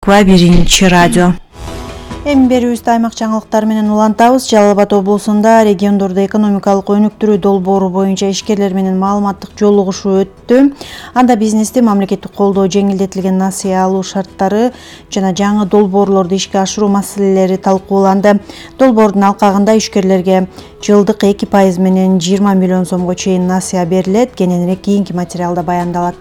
Биринчи радио. Эми берүүбүздө аймак жаңылыктары менен улантабыз. Жалал Абад облусунда региондордо экономикалык өнүктүрүү долбоору боюнча ишкерлер менен маалыматтык жолугушуу өттү. Анда бизнести мамлекеттик колдоо, жеңилдетилген насыя алуу шарттары жана жаңы долбоорлорду ишке ашыруу маселелери талкууланды. Долбоордун алкагында ишкерлерге жылдык 2% менен 20 миллион сомго чейин насыя берилет. Кененирээк кийинки материалда баяндалат.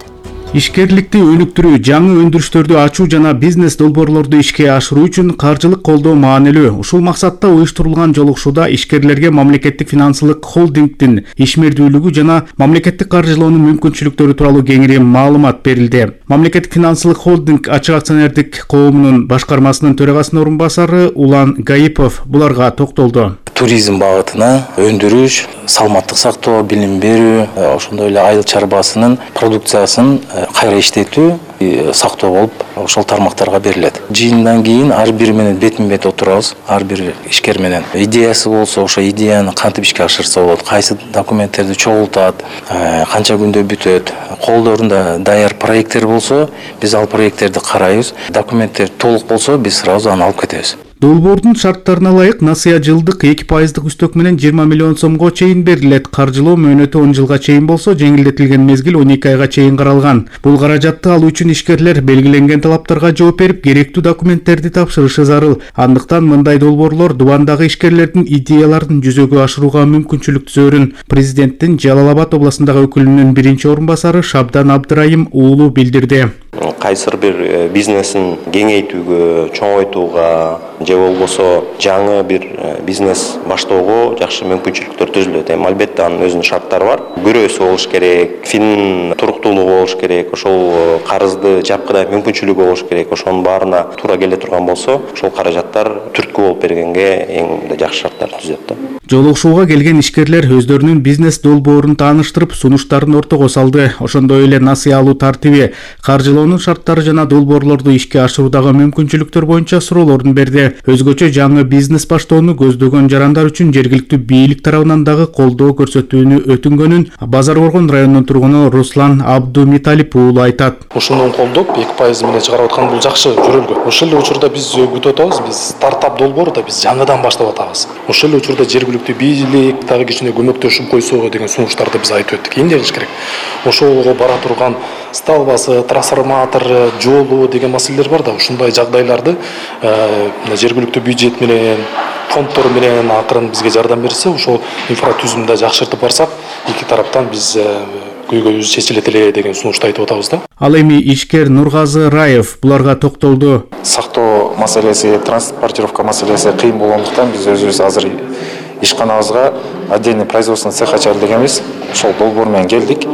Ишкерликти өнүктүрүү, жаңы өндүрүштөрдү ачуу жана бизнес долбоорлорду ишке ашыруу үчүн каржылык колдоо маанилүү. Ушул максатта уюштурулган жолугушууда ишкерлерге мамлекеттик финансылык холдингдин ишмердүүлүгү жана мамлекеттик каржылоонун мүмкүнчүлүктөрү тууралуу кеңири маалымат берилди. Мамлекеттик финансылык холдинг ачык акционердик коомунун башкармасынын төрагасынын орун басары Улан Гаипов буларга токтолду. Туризм багытына өндүрүш, саламаттык сактоо, билим берүү, ошондой эле айыл чарбасынын продукциясын кайра иштетүү, сактоо болуп ошол тармактарга берилет. Жыйындан кийин ар бири менен бетме-бет отурабыз. Ар бир ишкер менен идеясы болсо, ошо идеяны кантип ишке ашырса болот, кайсы документтерди чогултат, канча күндө бүтөт. Колдорунда даяр проекттер болсо, биз ал проекттерди карайбыз. Документтер толук болсо, биз сразу аны алып кетебиз. Долбоордун шарттарына ылайык насыя жылдык 2% үстөк менен 20 миллион сомго чейин берилет. Каржылоо мөөнөтү 10 жылга чейин болсо, жеңилдетилген мезгил 12 айга чейин каралган. Бул каражатты алуу үчүн ишкерлер белгиленген талаптарга жооп берип, керектүү документтерди тапшырышы зарыл. Андыктан мындай долбоорлор дубандагы ишкерлердин идеяларын жүзөгө ашырууга мүмкүнчүлүк түзөрүн президенттин Жалал Абад областындагы өкүлүнүн биринчи орун басары Шабдан Абдырайым уулу билдирди. Кайсыр бир бизнесин кеңейтүүгө, чоңойтууга же болбосо жаңы бир бизнес баштоого жакшы мүмкүнчүлүктөр түзүлөт. Албетте анын өзүнүн шарттары бар. Бирөөсү болуш керек, фин туруктуулугу болуш керек, ошол карызды жапкыдай мүмкүнчүлүгү болуш керек. Ошонун баарына туура келе турган болсо, ошол каражаттар түрткү болуп бергенге эң жакшы шарттар түзөт. Жолугушууга келген ишкерлер өздөрүнүн бизнес долбоорун тааныштырып, сунуштарын ортого салды. Ошондой эле насыя алуу тартиби, каржылоонун шарттары жана долбоорлорду ишке ашыруудагы мүмкүнчүлүктөр боюнча суроолорун берди. Өзгөчө жаңы бизнес баштоону көздөгөн жарандар үчүн жергиликтүү бийлик тарабынан дагы колдоо көрсөтүүнү өтүнгөнүн Базар Боргон районунун тургуну Руслан Абдумиталип уулу айтат. Ушуну колдоп 2% менен чыгарып аткан бул жакшы жөрөлгө. Ошол эле учурда биз күтүп атабыз, биз стартап долбоору да биз жаңыдан баштап атабыз. Ошол эле учурда жергиликтүү бийлик дагы кичине көмөктөшүп койсо деген сунуштарды биз айтып өттүк. Эмне кылыш керек? Ошого бара турган сталбасы, трансформатор, жолу деген маселелер бар да, ушундай жагдайларды жергиликтүү бюджет менен, фонддор менен акырын бизге жардам берсе, ошол инфратүзүмдү жакшыртып барсак, эки тараптан биз көйгөйүбүз чечилет эле деген сунушту айтып атабыз да. Ал эми ишкер Нургазы Раев буларга токтолду. Сактоо маселеси, транспортировка маселеси кыйын болгондуктан биз өзүбүз азыр ишканабызга отдельный производственный цех ачалы дегенбиз. Ошол долбоор менен келдик.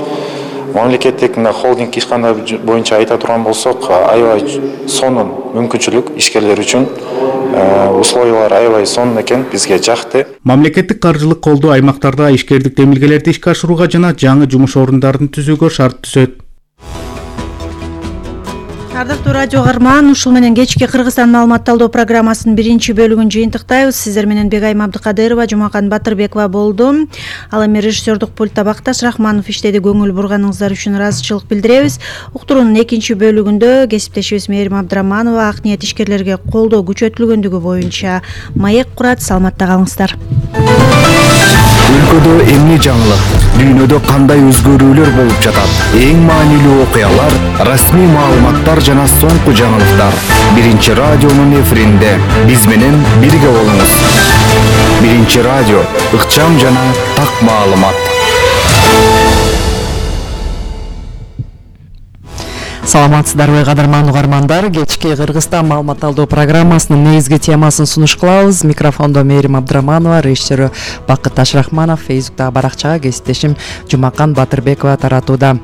Мамлекеттик холдинг ишканда боюнча айта турган болсок, аябай сонун мүмкүнчүлүк ишкерлер үчүн, условиялар аябай сонун экен, бизге жакты. Мамлекеттик каржылык колдоо аймактарда ишкердик демилгелерди ишке ашырууга жана жаңы жумуш орундарын түзүүгө шарт түзөт. Ардактуу радио каарман, ушул менен кечки Кыргызстан маалымат талдоо программасынын биринчи бөлүгүн жыйынтыктайбыз. Сиздер менен Бегайым Абдыкадырова, Жумакан Батырбекова болду. Ал эми режиссердук пультта Бакташ Рахманов иштеди. Көңүл бурганыңыздар үчүн ыраазычылык билдиребиз. Уктуруунун экинчи бөлүгүндө кесиптешибиз Мээрим Абдыраманова ак ниет ишкерлерге колдоо күчөтүлгөндүгү боюнча маек курат. Саламатта калыңыздар. Өлкөдө эмне жаңылык, дүйнөдө кандай өзгөрүүлөр болуп жатат? Эң маанилүү окуялар, расмий маалыматтар жана соңку жаңылыктар. Биринчи радионун эфиринде биз менен бирге болуңуз. Биринчи радио, ыкчам жана так маалымат. Саламатсыздарбы кадырман угармандар, кечки Кыргызстан маалымат талдоо программасынын негизги темасын сунуш кылабыз. Микрофондо Мээрим Абдыраманова, режиссеру Бакташ Рахманов, Фейсбуктагы баракчага кесиптешим Жумакан Батырбекова таратууда.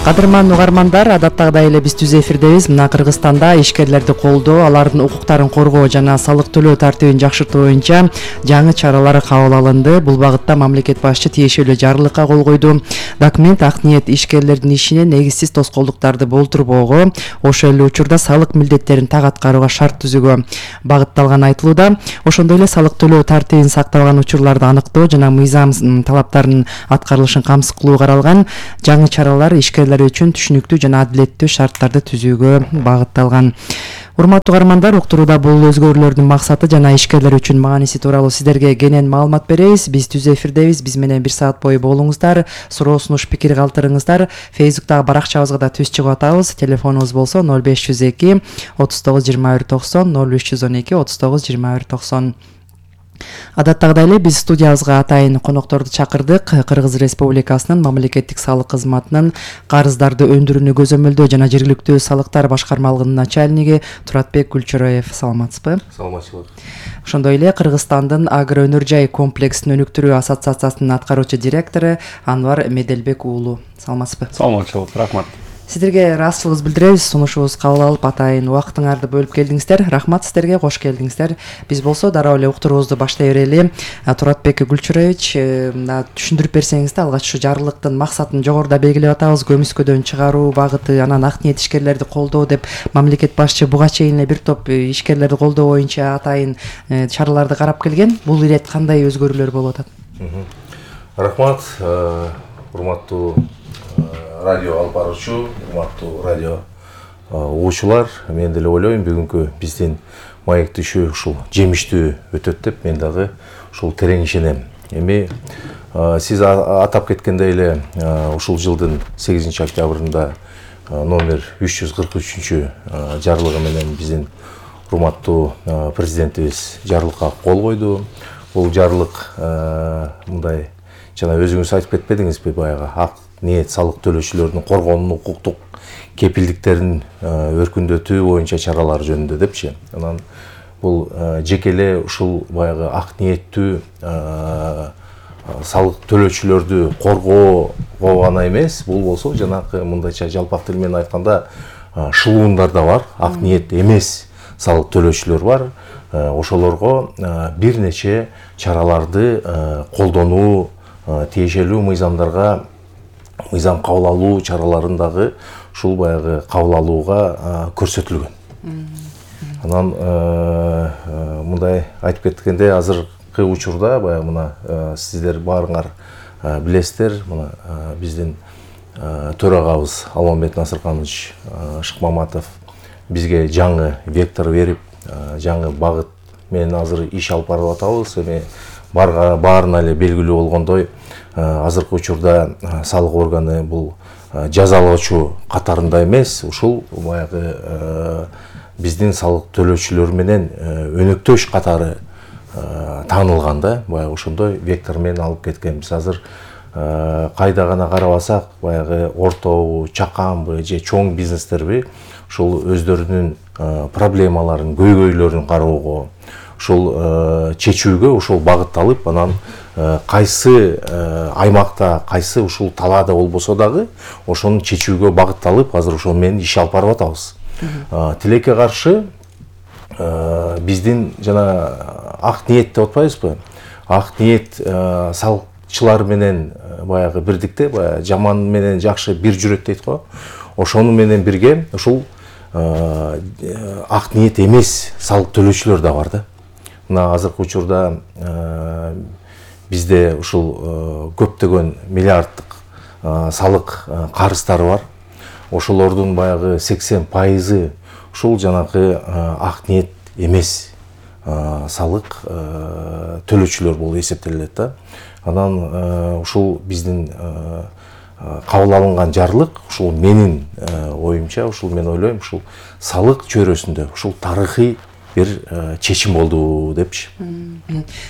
Кадырман угармандар, адаттагыдай эле биз түз эфирдебиз. Мына Кыргызстанда ишкерлерди колдоо, алардын укуктарын коргоо жана салык төлөө тартибин жакшыртуу боюнча жаңы чаралар кабыл алынды. Бул багытта мамлекет башчы тиешелүү жарлыкка кол койду. Документ ак ниет ишкерлердин ишине негизсиз тоскоолдуктарды болтурбоого, ошол эле учурда салык милдеттерин так аткарууга шарт түзүүгө багытталганы айтылууда. Ошондой эле салык төлөө тартибин сактабаган учурларды аныктоо жана мыйзам талаптарынын аткарылышын камсыз кылуу каралган. Жаңы чаралар ишкерлер үчүн түшүнүктүү жана адилеттүү шарттарды түзүүгө багытталган. Урматтуу угармандар, уктурууда бул өзгөрүүлөрдүн максаты жана ишкерлер үчүн мааниси тууралуу сиздерге кенен маалымат беребиз. Биз түз эфирдебиз. Биз менен 1 саат бою болуңуздар. Суроо сунуш пикир калтырыңыздар. Фейсбуктагы баракчабызга да түз чыгып атабыз. Телефонубуз болсо 0502 39 21 90 0312 39 21 90. Адаттагыдай эле биз студиябызга атайын конокторду чакырдык. Кыргыз Республикасынын мамлекеттик салык кызматынын карыздарды өндүрүүнү көзөмөлдөө жана жергиликтүү салыктар башкармалыгынын начальниги Туратбек Гүлчөроев. Саламатсызбы? Саламатчылык. Ошондой эле Кыргызстандын агро өнөр жай комплексин өнүктүрүү ассоциациясынын аткаруучу директору Анвар Меделбек уулу. Саламатсызбы? Саламатчылык, рахмат. Сиздерге ыраазычылыгыбызды билдиребиз. Сунушубуз кабыл алып, атайын убактыңарды бөлүп келдиңиздер. Рахмат сиздерге, кош келдиңиздер. Биз болсо дароо эле уктуруубузду баштай берели. Туратбек Гүлчөроевич, түшүндүрүп берсеңиз да, алгач ушу жарлыктын максатын жогоруда белгилеп атабыз. Көмүскөдөн чыгаруу багыты, анан ак ниет ишкерлерди колдоо деп мамлекет башчы буга чейин эле бир топ ишкерлерди колдоо боюнча атайын чараларды карап келген. Бул ирет кандай өзгөрүүлөр болуп атат? Рахмат, урматтуу радио алып баруучу, урматтуу радио угуучулар, мен деле ойлойм бүгүнкү биздин маек түшү ушул жемиштүү өтөт деп мен дагы ушул терең ишенем. Эми сиз атап кеткендей эле ушул жылдын 8 октябрында номер 343 жарлыгы менен биздин урматтуу президентибиз жарлыкка кол койду. Бул жарлык мындай жана өзүңүз айтып кетпедиңизби, баягы ак ниет салык төлөөчүлөрдүн коргоонун укуктук кепилдиктерин өркүндөтүү боюнча чаралар жөнүндө депчи. Анан бул жеке эле ушул баягы ак ниеттүү салык төлөөчүлөрдү коргоо гана эмес, бул болсо жанакы мындайча жалпак тил менен айтканда шылуундар да бар, ак ниет эмес салык төлөөчүлөр бар. Ошолорго бир нече чараларды колдонуу, тиешелүү мыйзам кабыл алуу чараларын дагы ушул баягы кабыл алууга көрсөтүлгөн. Анан мындай айтып кеткенде азыркы учурда баягы мына сиздер баарыңар билесиздер, мына биздин төрагабыз Алмамбет Насырканович Шыкмаматов бизге жаңы вектор берип, жаңы багыт менен азыр иш алып барып атабыз. Эми баарына эле белгилүү болгондой, азыркы учурда салык органы бул жазалоочу катарында эмес, ушул баягы биздин салык төлөөчүлөр менен өнөктөш катары таанылган да, баягы ошондой вектор менен алып кеткенбиз. Азыр кайда гана карабасак, баягы ортобу, чаканбы же чоң бизнестерби ушул өздөрүнүн проблемаларын, көйгөйлөрүн кароого, ушул чечүүгө ушул багытталып, анан кайсы аймакта, кайсы ушул талаада болбосо дагы ошонун чечүүгө багытталып, азыр ошол менен иш алып барып атабыз. Тилекке каршы биздин жана ак ниет деп атпайбызбы? Ак ниет салыкчылар менен баягы бирдикте, баягы жаман менен жакшы бир жүрөт дейт го. Ошону менен бирге ушул ак ниет эмес салык төлөөчүлөр да бар да. Мына азыркы учурда бизде ушул көптөгөн миллиарддык салык карыздары бар. Ошолордун баягы 80% ушул жанакы ак ниет эмес салык төлөөчүлөр болуп эсептелет да. Анан ушул биздин кабыл алынган жарлык ушул менин оюмча, ушул мен ойлойм, ушул салык чөйрөсүндө ушул тарыхый бир чечим болду депчи.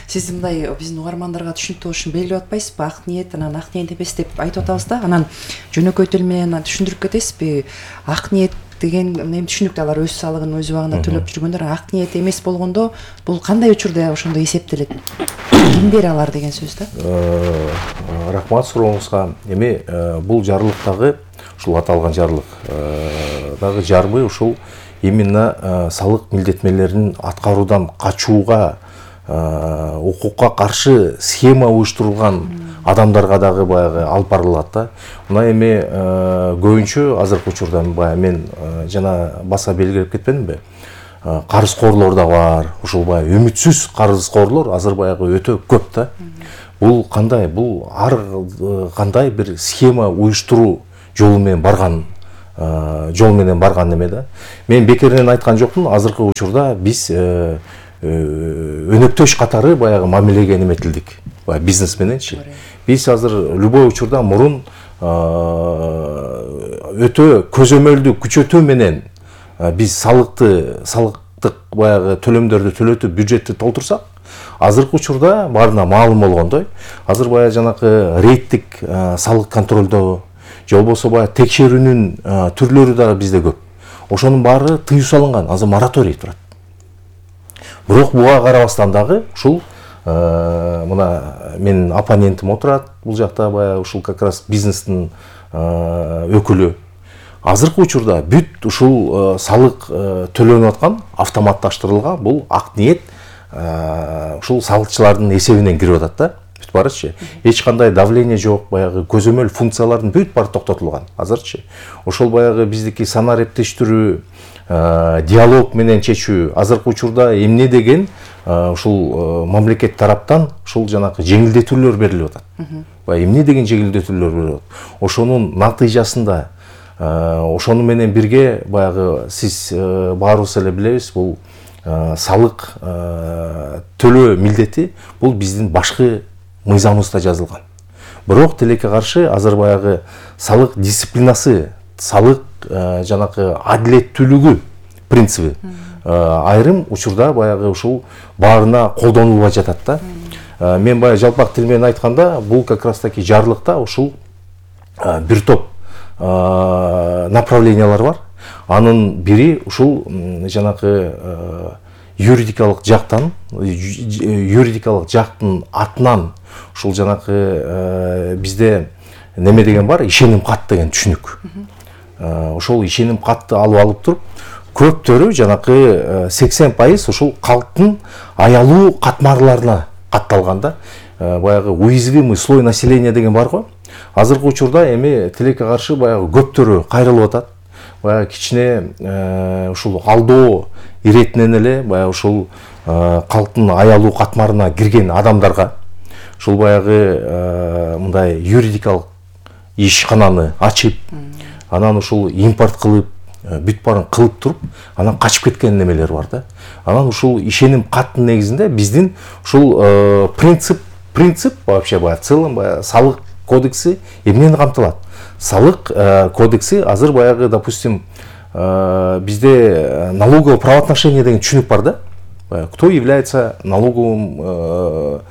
Сиз мындай биздин угармандарга түшүнүктүү болуш үчүн белгилеп атпайсызбы? Ак ниет, анан ак ниет эмес деп айтып атабыз да. Анан жөнөкөй тил менен түшүндүрүп кетесизби? Ак ниет деген эми түшүнүктүү, алар өз салыгын өз убагында төлөп жүргөндөр. Ак ниет эмес болгондо бул кандай учурда ошондой эсептелет? Ким бере алар деген сөз да? Рахмат сурооңузга. Эми бул жарлыктагы ушул аталган жарлык дагы жарбы ушул именно салык милдетмелерин аткаруудан качууга, укукка каршы схема уюштурулган адамдарга дагы баягы алып барылат да. Мына эми көбүнчө азыркы учурда баягы мен жана баса белгилеп кетпедимби? Карызкорлор да бар. Ушул баягы үмүтсүз карызкорлор азыр баягы өтө көп да. Бул кандай? Бул ар кандай бир схема уюштуруу жолу менен барган жол менен барган неме да. Мен бекеринен айткан жокмун, азыркы учурда биз өнөктөш катары баягы мамилеге неметилдик. Баягы бизнес мененчи. Биз азыр любой учурда мурун өтө көзөмөлдүү күчөтүү менен биз салыктык баягы төлөмдөрдү төлөтүп бюджетти толтурсак, азыркы учурда баарына маалым болгондой, азыр баягы жанакы рейдтик салык контролдоо же болбосо баягы текшерүүнүн түрлөрү дагы бизде көп. Ошонун баары тыюу салынган, азыр мораторий турат. Бирок буга карабастан дагы ушул мына менин оппонентим отурат, бул жакта баягы ушул как раз бизнестин өкүлү. Азыркы учурда бүт ушул салык төлөнүп аткан автоматташтырылган бул ак ниет ушул салыкчылардын эсебинен кирип атат да. Бүт барычы. Эч кандай давление жок, баягы көзөмөл функциялардын бүт баары токтотулган. Азырчы. Ошол баягы биздики санаа эптештирүү, диалог менен чечүү, азыркы учурда эмне деген ушул мамлекет тараптан ушул жанакы жеңилдетүүлөр берилип атат. Баягы эмне деген жеңилдетүүлөр берилип атат. Ошонун натыйжасында ошону менен бирге баягы сиз баарыбыз эле билебиз, бул салык төлөө милдети бул биздин башкы мыйзамыбызда жазылган. Бирок тилекке каршы азыр баягы салык дисциплинасы, салык жанакы адилеттүүлүгү принциби айрым учурда баягы ушул баарына колдонулбай жатат да. Мен баягы жалпак тил менен айтканда, бул как раз таки жарлыкта ушул бир топ направлениялар бар. Анын бири ушул жанакы юридикалык жактан, юридикалык жактын атынан ушул жанакы бизде неме деген бар, ишеним кат деген түшүнүк. Ошол ишеним катты алып туруп, көптөрү жанакы 80% ушул калктын аялуу катмарларына катталган да. Баягы уязвимый слой населения деген бар го. Азыркы учурда эми тилекке каршы баягы көптөрү кайрылып атат. Баягы кичине ушул алдоо иретинен эле баягы ушул калктын аялуу катмарына кирген адамдарга ушул баягы мындай юридикалык ишкананы ачып, анан ушул импорт кылып, бүт баарын кылып туруп, анан качып кеткен немелер бар да. Анан ушул ишеним каттын негизинде биздин ушул принцип вообще баягы целом баягы салык кодекси эмнени камтылат? Салык кодекси азыр баягы, допустим, bizde налоговое правоотношение деген түшүнүк бар да. Кто является налоговое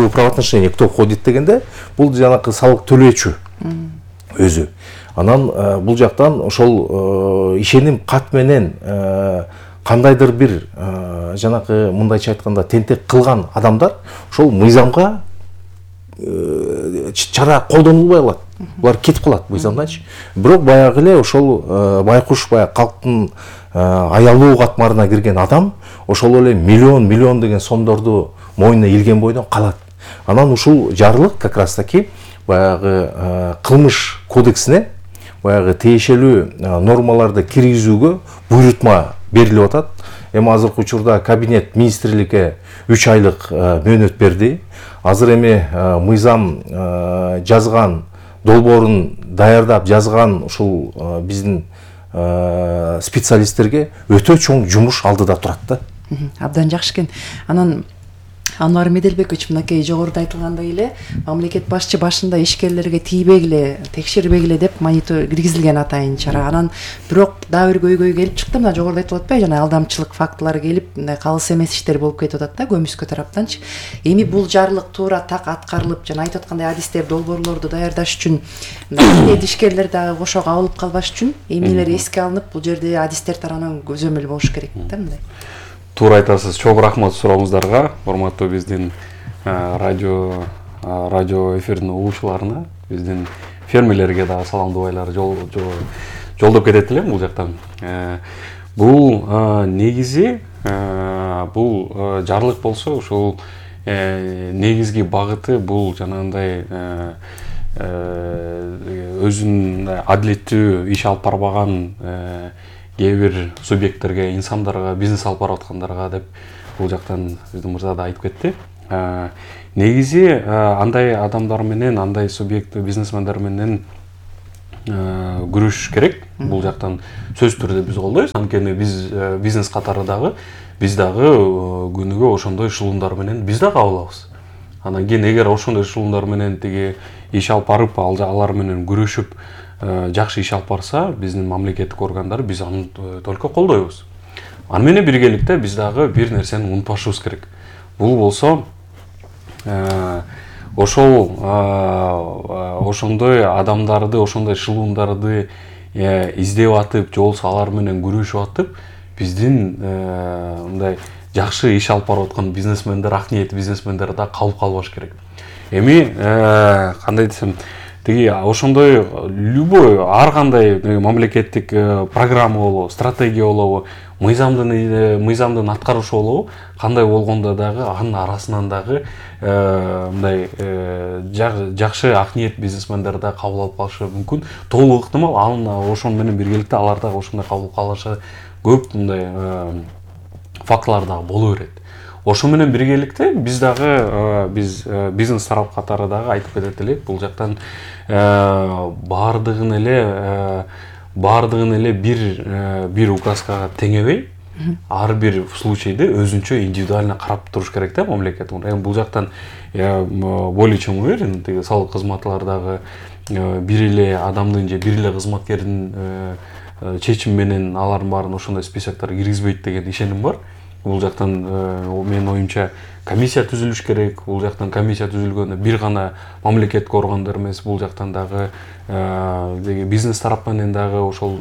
правоотношение, кто входит дегенде, бул жанакы салык төлөөчү өзү. Анан бул жактан ошол ишеним кат менен кандайдыр бир жанакы мындайча айтканда тентек кылган адамдар ошол мыйзамга чара колдонулбай калат. Булар кетип калат мыйзамданчы. Бирок баягы эле ошол байкуш баягы калктын аялуу катмарына кирген адам ошол эле миллион деген сомдорду мойнуна илген бойдон калат. Анан ушул жарлык как раз таки баягы кылмыш кодексине баягы тиешелүү нормаларды киргизүүгө буйрутма берилип атат. Эми азыркы учурда кабинет министрликке 3 айлык мөөнөт берди. Азыр эми мыйзам жазган, долбоорун даярдап жазган ушул биздин специалисттерге өтө чоң жумуш алдыда турат да. Абдан жакшы экен. Анан Анвар Меделбекович, мынакей жогоруда айтылгандай эле, мамлекет башчы башында ишкерлерге тийбегиле, текшербегиле деп монитор киргизилген атайын чара. Анан бирок дагы бир көйгөй келип чыкты, мына жогоруда айтылып атпайбы, жана алдамчылык фактылары келип, мындай калыс эмес иштер болуп кетип атат да, көмүскө тараптанчы. Эми бул жарлык туура так аткарылып, жана айтып аткандай адистер, долбоорлорду даярдаш үчүн, мындай ишкерлер дагы кошо кабылып калбаш үчүн эмнелер эске алынып, бул жерде адистер тарабынан көзөмөл болуш керек да мындай. Туура айтасыз. Чоң рахмат сурооңуздарга, урматтуу биздин радио эфирдин угуучуларына, биздин фермерлерге дагы саламдабайлар жолдоп кетет элем бул жактан. Бул негизи бул жарлык болсо, ушул негизги багыты бул жанагындай өзүнүн адилеттүү иш алып барбаган кээ бир субъекттерге, инсандарга, бизнес алып барып аткандарга деп бул жактан биздин мырза да айтып кетти. Негизи андай адамдар менен, андай субъект бизнесмендер менен күрөшүш керек. Бул жактан сөзсүз түрдө биз колдойбуз. Анткени биз бизнес катары дагы биз дагы күнүгө ошондой эшелондар менен биз да кабыл алабыз. Анан кийин эгер ошондой эшелондар менен тиги иш алып барып, алар менен күрөшүп жакшы иш алып барса, биздин мамлекеттик органдар биз аны только колдойбуз. Аны менен биргеликте биз дагы бир нерсени унутпашыбыз керек. Бул болсо ошондой адамдарды, ошондой эшелондарды издеп атып, же болбосо алар менен күрөшүп атып, биздин мындай жакшы иш алып барып аткан бизнесмендер, ак ниеттүү бизнесмендер да калып калбаш керек. Эми кандай десем, тиги ошондой любой ар кандай мамлекеттик программа болобу, стратегия болобу, мыйзамдын аткарушу болобу, кандай болгондо дагы анын арасынан дагы мындай жакшы ак ниет бизнесмендер да кабыл алып калышы мүмкүн. Толук ыктымал ошону менен биргеликте алар дагы ошондой кабыл калышы көп мындай фактылар дагы боло берет. Ошо менен биргеликте биз дагы бизнес тарап катары дагы айтып кетет элек, бул жактан баардыгын эле бир указкага теңебей, ар бир случайды өзүнчө индивидуально карап туруш керек да мамлекет. Эми бул жактан более чем уверен, тиги салык кызматлар дагы бир эле адамдын же бир эле кызматкердин чечими менен алардын баарын ошондой списоктор киргизбейт деген ишеним бар. Бул жактан менин оюмча комиссия түзүлүш керек. Бул жактан комиссия түзүлгөндө бир гана мамлекеттик органдар эмес, бул жактан дагы бизнес тарап менен дагы ошол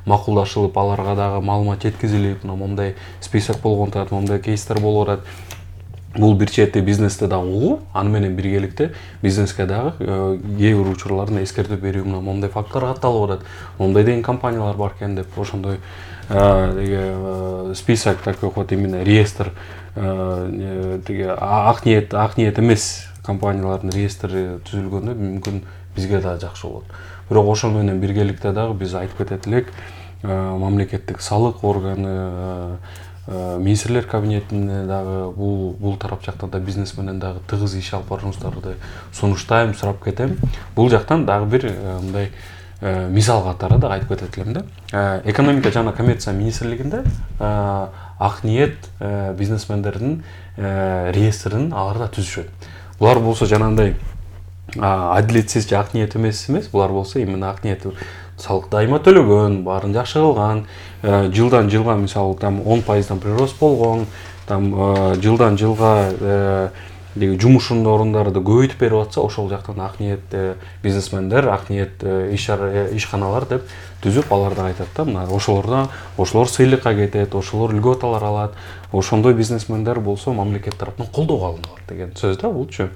макулдашылып, аларга дагы маалымат жеткизилип, момундай список болгон атат, момундай кейстер болуп атат. Бул бир чети бизнесте дагы угуу, аны менен биргеликте бизнеске дагы кээ бир учурларда эскертүү берүү, момундай факттар катталып атат. Момундай деген компаниялар бар экен деп ошондой список такой вот именно реестр ак ниет эмес компаниялардын реестри түзүлгөндө мүмкүн бизге да жакшы болот. Бирок ошол менен биргеликте дагы биз айтып кетет элек, мамлекеттик салык органы, министрлер кабинетине дагы бул тарап жактан да бизнес менен дагы тыгыз иш алып барышыңыздарды сунуштайм, сурап кетем. Бул жактан дагы бир мындай мисал катары да айтып кетет элем да. Экономика жана коммерция министрлигинде ак ниет бизнесмендердин реестрин алар да түзүшөт. Булар болсо жанагындай адилетсиз же ак ниет эмес, булар болсо именно ак ниет, салык дайыма төлөгөн, баарын жакшы кылган, жылдан жылга мисалы там 10% прирост болгон, там жылдан жылга жумушунун орундарды көбөйтүп берип атса, ошол жактан ак ниет бизнесмендер, ак ниет ишканалар деп түзүп, алар да айтат да, мына ошолор сыйлыкка кетет, ошолор льготалар алат, ошондой бизнесмендер болсо мамлекет тараптан колдоого алыналат деген сөз да булчу.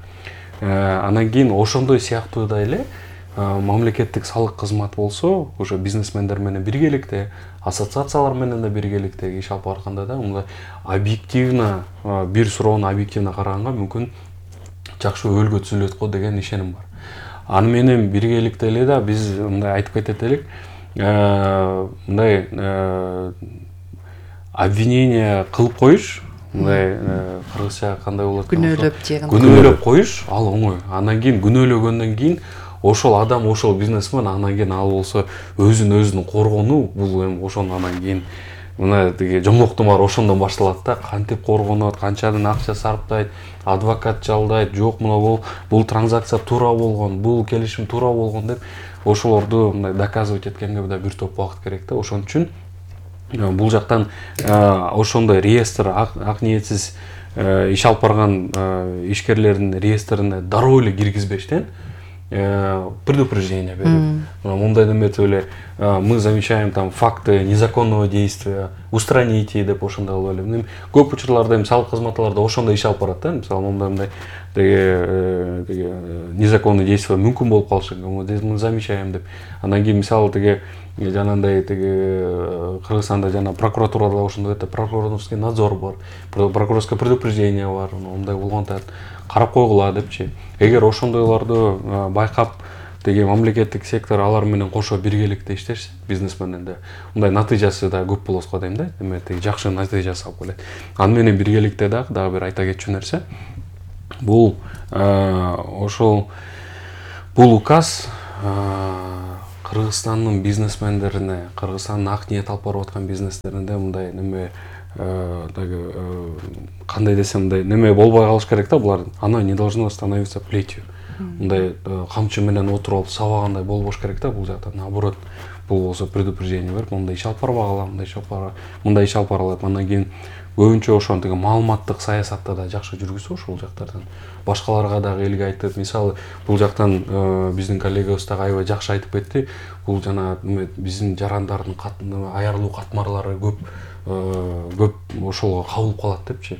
Анан кийин ошондой сыяктуу да эле мамлекеттик салык кызмат болсо, ошо бизнесмендер менен биргеликте, ассоциациялар менен да биргеликте иш алып барганда да мындай объективно, бир суроону объективно караганга мүмкүн жакшы өбөлгө түзүлөт го деген ишеним бар. Аны менен биргеликте эле да биз мындай айтып кетет элек, мындай обвинение кылып коюш, мындай кыргызча кандай болот? Күнөөлөп коюш, ал оңой. Андан кийин күнөөлөгөндөн кийин ошол адам, ошол бизнесмен анан кийин ал болсо өзүн коргонуу, бул эми ошондон анан кийин мына тиги жомоктомор ошондон башталат да, кантип коргонот, канчадан акча сарптайт, адвокат жалдайт, жок мына бул транзакция туура болгон, бул келишим туура болгон деп ошолорду мындай доказывать эткенге да бир топ убакыт керек да. Ошон үчүн бул жактан ошондой реестр ак ниетсиз иш алып барган ишкерлердин реестрине дароо эле киргизбештен предупреждение берип, мындай деметип эле мы замечаем там факты незаконного действия, устраните деп ошондой кылып эле. Көп учурларда эми салык кызматларда ошондой иш алып барат да, мисалы мындай тиги незаконный действие мүмкүн болуп калышы мүмкүн, мы замечаем деп. Андан кийин мисалы тиги жанагындай тиги Кыргызстанда жана прокуратурада ошондой прокурорский надзор бар, прокурорское предупреждение бар, мындай болгондо карап койгула депчи. Эгер ошондойлорду байкап тиги мамлекеттик сектор алар менен кошо биргеликте иштешсе, бизнесменден да мындай натыйжасы да көп болот го дейм да, эми тиги жакшы натыйжасы алып келет. Аны менен биргеликте дагы бир айта кетчү нерсе, бул указ Кыргызстандын бизнесмендерине, Кыргызстандын ак ниет алып барып аткан бизнестеринде мындай неме кандай десем мындай неме болбой калыш керек да булар. Оно не должно становиться плетью. Мындай камчы менен отуруп алып сабагандай болбош керек да бул жакта. Наоборот, бул болсо предупреждение берип, мындай иш алып барбагыла, мындай иш алып баралат. Андан кийин көбүнчө ошонтиги маалыматтык саясатты да жакшы жүргүзүп ошол жактардан башкаларга дагы элге айтып, мисалы бул жактан биздин коллегабыз дагы аябай жакшы айтып кетти. Бул жана биздин жарандардын аярылуу катмарлары көп ошолго кабылып калат депчи.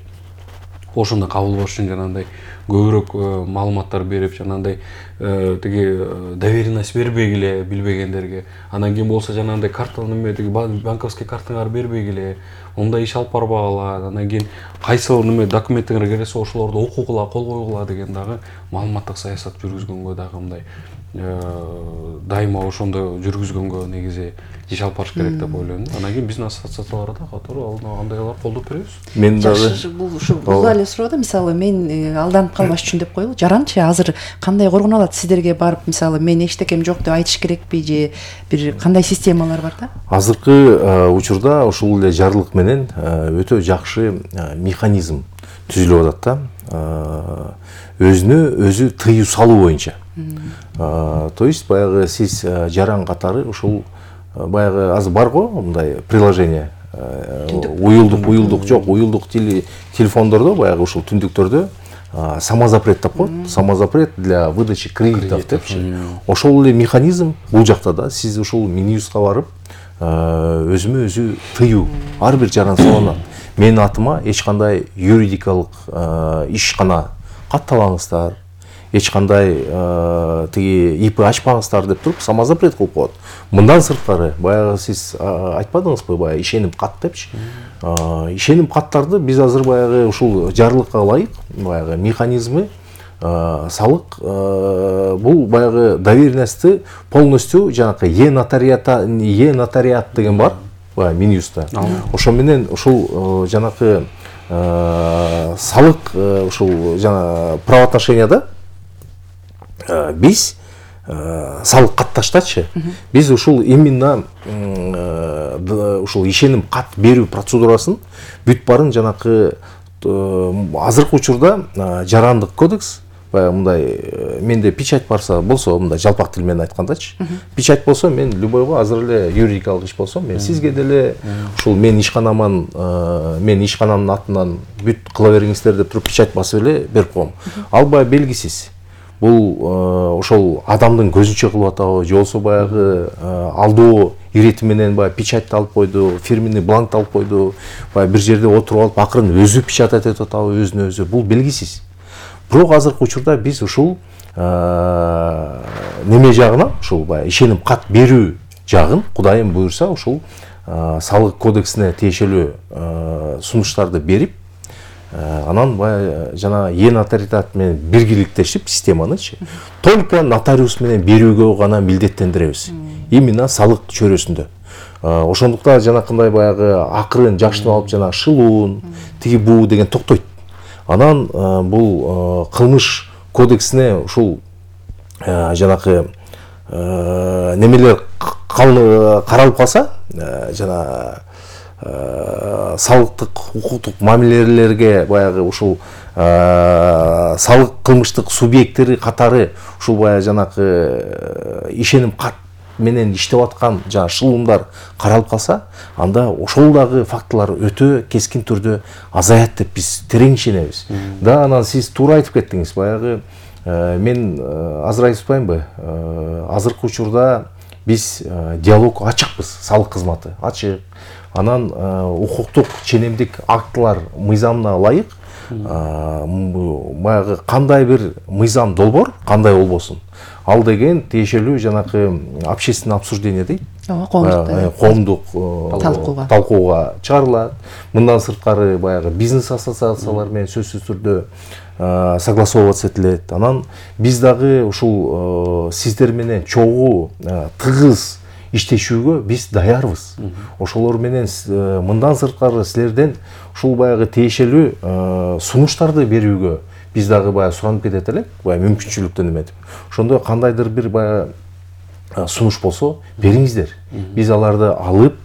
Ошондой кабылбаш үчүн жанагындай көбүрөөк маалыматтар берип, жанагындай тиги доверенность бербегиле билбегендерге. Андан кийин болсо жанагындай карта неме тиги банковский картаңарды бербегиле, ондай иш алып барбагыла. Андан кийин кайсы неме документтер келсе ошолорду окугула, кол койгула деген дагы маалыматтык саясат жүргүзгөнгө дагы мындай дайыма ошондо жүргүзгөнгө негизи иш алып барыш керек деп ойлойм. Андан кийин биздин ассоциациялар да катары андайлар колдоп беребиз. Мен дагы бул эле суроо да, мисалы мен алданып калбаш үчүн деп коелу. Жаранчы азыр кандай коргоно алат? Сиздерге барып, мисалы мен эчтекем жок деп айтыш керекпи же бир кандай системалар бар да? Азыркы учурда ошол эле жарлык менен өтө жакшы механизм түзүлүп атат да. Өзүнө өзү тыюу салуу боюнча. То есть баягы сиз жаран катары ушул баягы азыр бар го мындай приложение, уюлдук жок, уюлдук телефондордо баягы ушул түндүктөрдө самозапрет деп коет. Самозапрет для выдачи кредитов депчи. Ошол эле механизм бул жакта да. Сиз ушул Минюстка барып өзүмө өзү тыюу ар бир жаран салынат. Менин атыма эч кандай юридикалык ишкана каттабаңыздар, эч кандай тиги ИП ачпаңыздар деп туруп самозапрет кылып коет. Мындан сырткары баягы сиз айтпадыңызбы, баягы ишеним кат депчи. Ишеним каттарды биз азыр баягы ушул жарлыкка ылайык баягы механизмы салык бул баягы доверенностьты полностью жанакы нотариат деген бар баягы Минюстта. Ошо менен ушул жанакы салык ушул жана правоотношенияда биз салык катташтачы биз ушул именно ушул ишеним кат берүү процедурасын бүт барын жанакы азыркы учурда жарандык кодекс баягы мындай менде печать болсо мындай жалпак тил менен айткандачы печать болсо мен любойго азыр эле юридикалык иш болсо мен сизге деле ушул мен ишканамдын атынан бүт кыла бериңиздер деп туруп печать басып эле берип коем. Ал баягы белгисиз. Бул ошол адамдын көзүнчө кылып атабы же болбосо баягы алдоо ирети менен баягы печатьты алып койду, фирменный бланкты алып койду, баягы бир жерде отуруп алып акырын өзү печатать этип атабы өзүнө өзү. Бул белгисиз. Бирок азыркы учурда биз ушул неме жагына, ушул баягы ишеним кат берүү жагын Кудайым буйрса ушул салык кодексине тиешелүү сунуштарды берип, анан баягы жана нотариат менен биргеликтешип системанычы только нотариус менен берүүгө гана милдеттендиребиз. Именно салык чөйрөсүндө. Ошондуктан жанакындай баягы акырын жакшынып алып жана шылуун, тиги буу деген токтойт. Анан бул кылмыш кодексине ушул жанакы немелер каралып калса, жана салыктык укуктук мамилелерге баягы ушул салык кылмыштык субъекттери катары ушул баягы жанакы ишеним кат менен иштеп аткан жана шылуундар каралып калса, анда ошол дагы фактылар өтө кескин түрдө азаят деп биз терең ишенебиз. Да, анан сиз туура айтып кеттиңиз. Баягы мен азыр айтып атпаймынбы? Азыркы учурда биз диалог ачыкпыз, салык кызматы ачык. Анан укуктук ченемдик актылар мыйзамына ылайык баягы кандай бир мыйзам долбоор кандай болбосун. Ал деген тиешелүү жанакы общественное обсуждение дейт. Коомдук талкууга чыгарылат. Мындан сырткары баягы бизнес ассоциациялар менен сөзсүз түрдө согласовываться этилет. Анан биз дагы ушул сиздер менен чогуу тыгыз иштешүүгө биз даярбыз. Ошолор менен мындан сырткары силерден ушул баягы тиешелүү сунуштарды берүүгө биз дагы баягы суранып кетет элек, баягы мүмкүнчүлүктөн эметип. Ошондо кандайдыр бир баягы сунуш болсо бериңиздер. Биз аларды алып,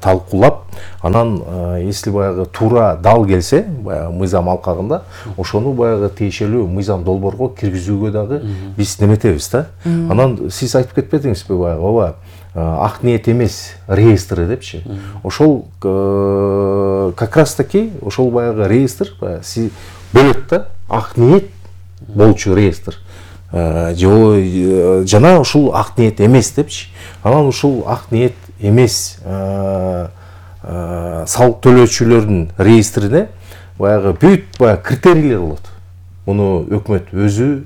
талкуулап, анан если баягы туура дал келсе, баягы мыйзам алкагында, ошону баягы тиешелүү мыйзам долбоорго киргизүүгө дагы биз неметебиз да. Анан сиз айтып кетпедиңизби баягы, ооба, ак ниет эмес реестры депчи. Ошол как раз таки ошол баягы реестр бөлөт да, ак ниет болчу реестр. Жана ушул ак ниет эмес депчи. Анан ушул ак ниет эмес салык төлөөчүлөрдүн реестрине баягы бүт баягы критерийлер болот. Муну өкмөт өзү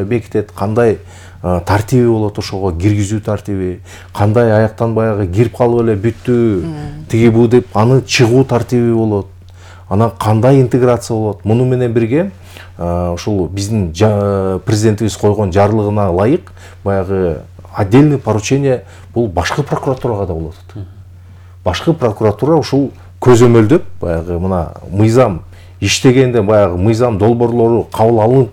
бекитет, кандай тартиби болот, ошого киргизүү тартиби, кандай аяктан баягы кирип калып эле бүттү, тиги бу деп аны чыгуу тартиби болот. Анан кандай интеграция болот. Муну менен бирге ушул биздин президентибиз койгон жарлыгына ылайык баягы отдельный поручение бул башкы прокуратурага да болот. Башкы прокуратура ушул көзөмөлдөп баягы мына мыйзам иштегенден баягы мыйзам долбоорлору кабыл алынып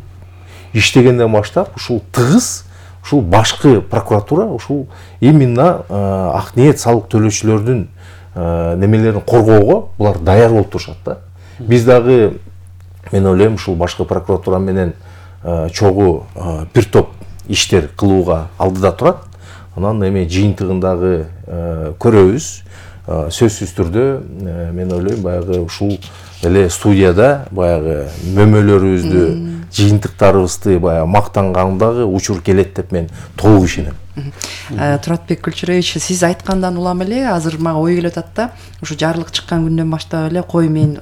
иштегенден баштап ушул тыгыз ушул башкы прокуратура ушул именно ак ниет салык төлөөчүлөрдүн немелерин коргоого булар даяр болуп турушат да. Биз дагы мен ойлойм ушул башкы прокуратура менен чогуу бир топ иштер кылууга алдыда турат. Анан эми жыйынтыгындагы көрөбүз. Сөзсүз түрдө мен ойлойм баягы ушул эле студияда баягы мөмөлөрүбүздү, жыйынтыктарыбызды баягы мактангандагы учур келет деп мен толук ишенем. Туратбек Күлчүрөевич, сиз айткандан улам эле азыр мага ой келип атат да, ушу жарлык чыккан күндөн баштап эле кой мен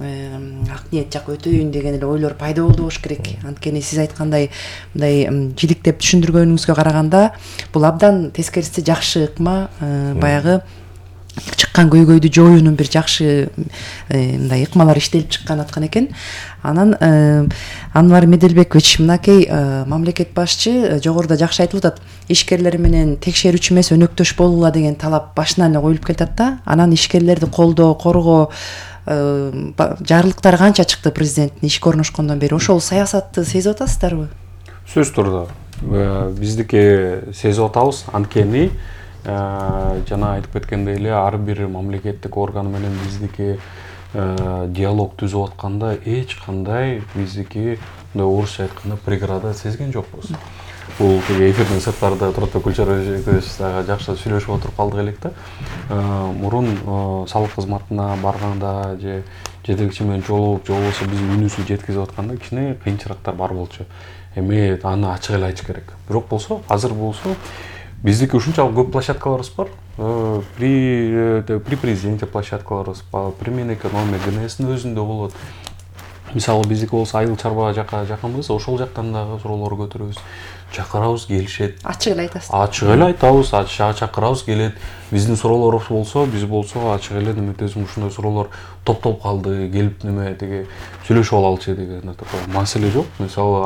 ак ниет жак өтөйүн деген эле ойлор пайда болду болуш керек. Анткени сиз айткандай мындай жиликтеп түшүндүргөнүңүзгө караганда бул абдан тескериси жакшы ыкма, баягы чыккан көйгөйдү жоюунун бир жакшы мындай ыкмалар иштелип чыккан аткан экен. Анан Анвар Меделбекович, мынакей мамлекет башчы жогоруда жакшы айтып атат, ишкерлер менен текшерүүчү эмес өнөктөш болула деген талап башынан эле коюлуп келатат да. Анан ишкерлерди колдоо, коргоо жарлыктары канча чыкты президенттин ишке орношкондон бери? Ошол саясатты сезип атасыздарбы? Сөз турда биздики сезип атабыз. Анткени жана айтып кеткендей эле ар бир мамлекеттик орган менен биздики диалог түзүп атканда эч кандай биздики мындай орусча айтканда преграда сезген жокпуз. Бул эфирдин сырттарында Туратбек Күлчүрөевич дагы жакшы сүйлөшүп отуруп калдык элек да. Мурун салык кызматына барганда же жетекчи менен жолугуп, же болбосо биздин үнүбүздү жеткизип атканда кичине кыйынчылыктар бар болчу. Эми аны ачык эле айтыш керек. Бирок болсо, азыр болсо биздики ушунчалык көп площадкаларыбыз бар. При президенте площадкаларыбыз бар, при Минэкономия, ГНСдин өзүндө болот. Мисалы биздики болсо Айыл Чарба жакка жакынбыз, ошол жактан дагы суроолор көтөрөбүз. Чакырабыз, келишет. Ачык эле айтасыз. Ачык эле айтабыз, чакырабыз, келет. Биздин суроолорубуз болсо, биз болсо ачык эле неметесиң ушундай суроолор топтолуп калды, келип неме деге сүйлөшүп алалычы деген такой маселе жок. Мисалы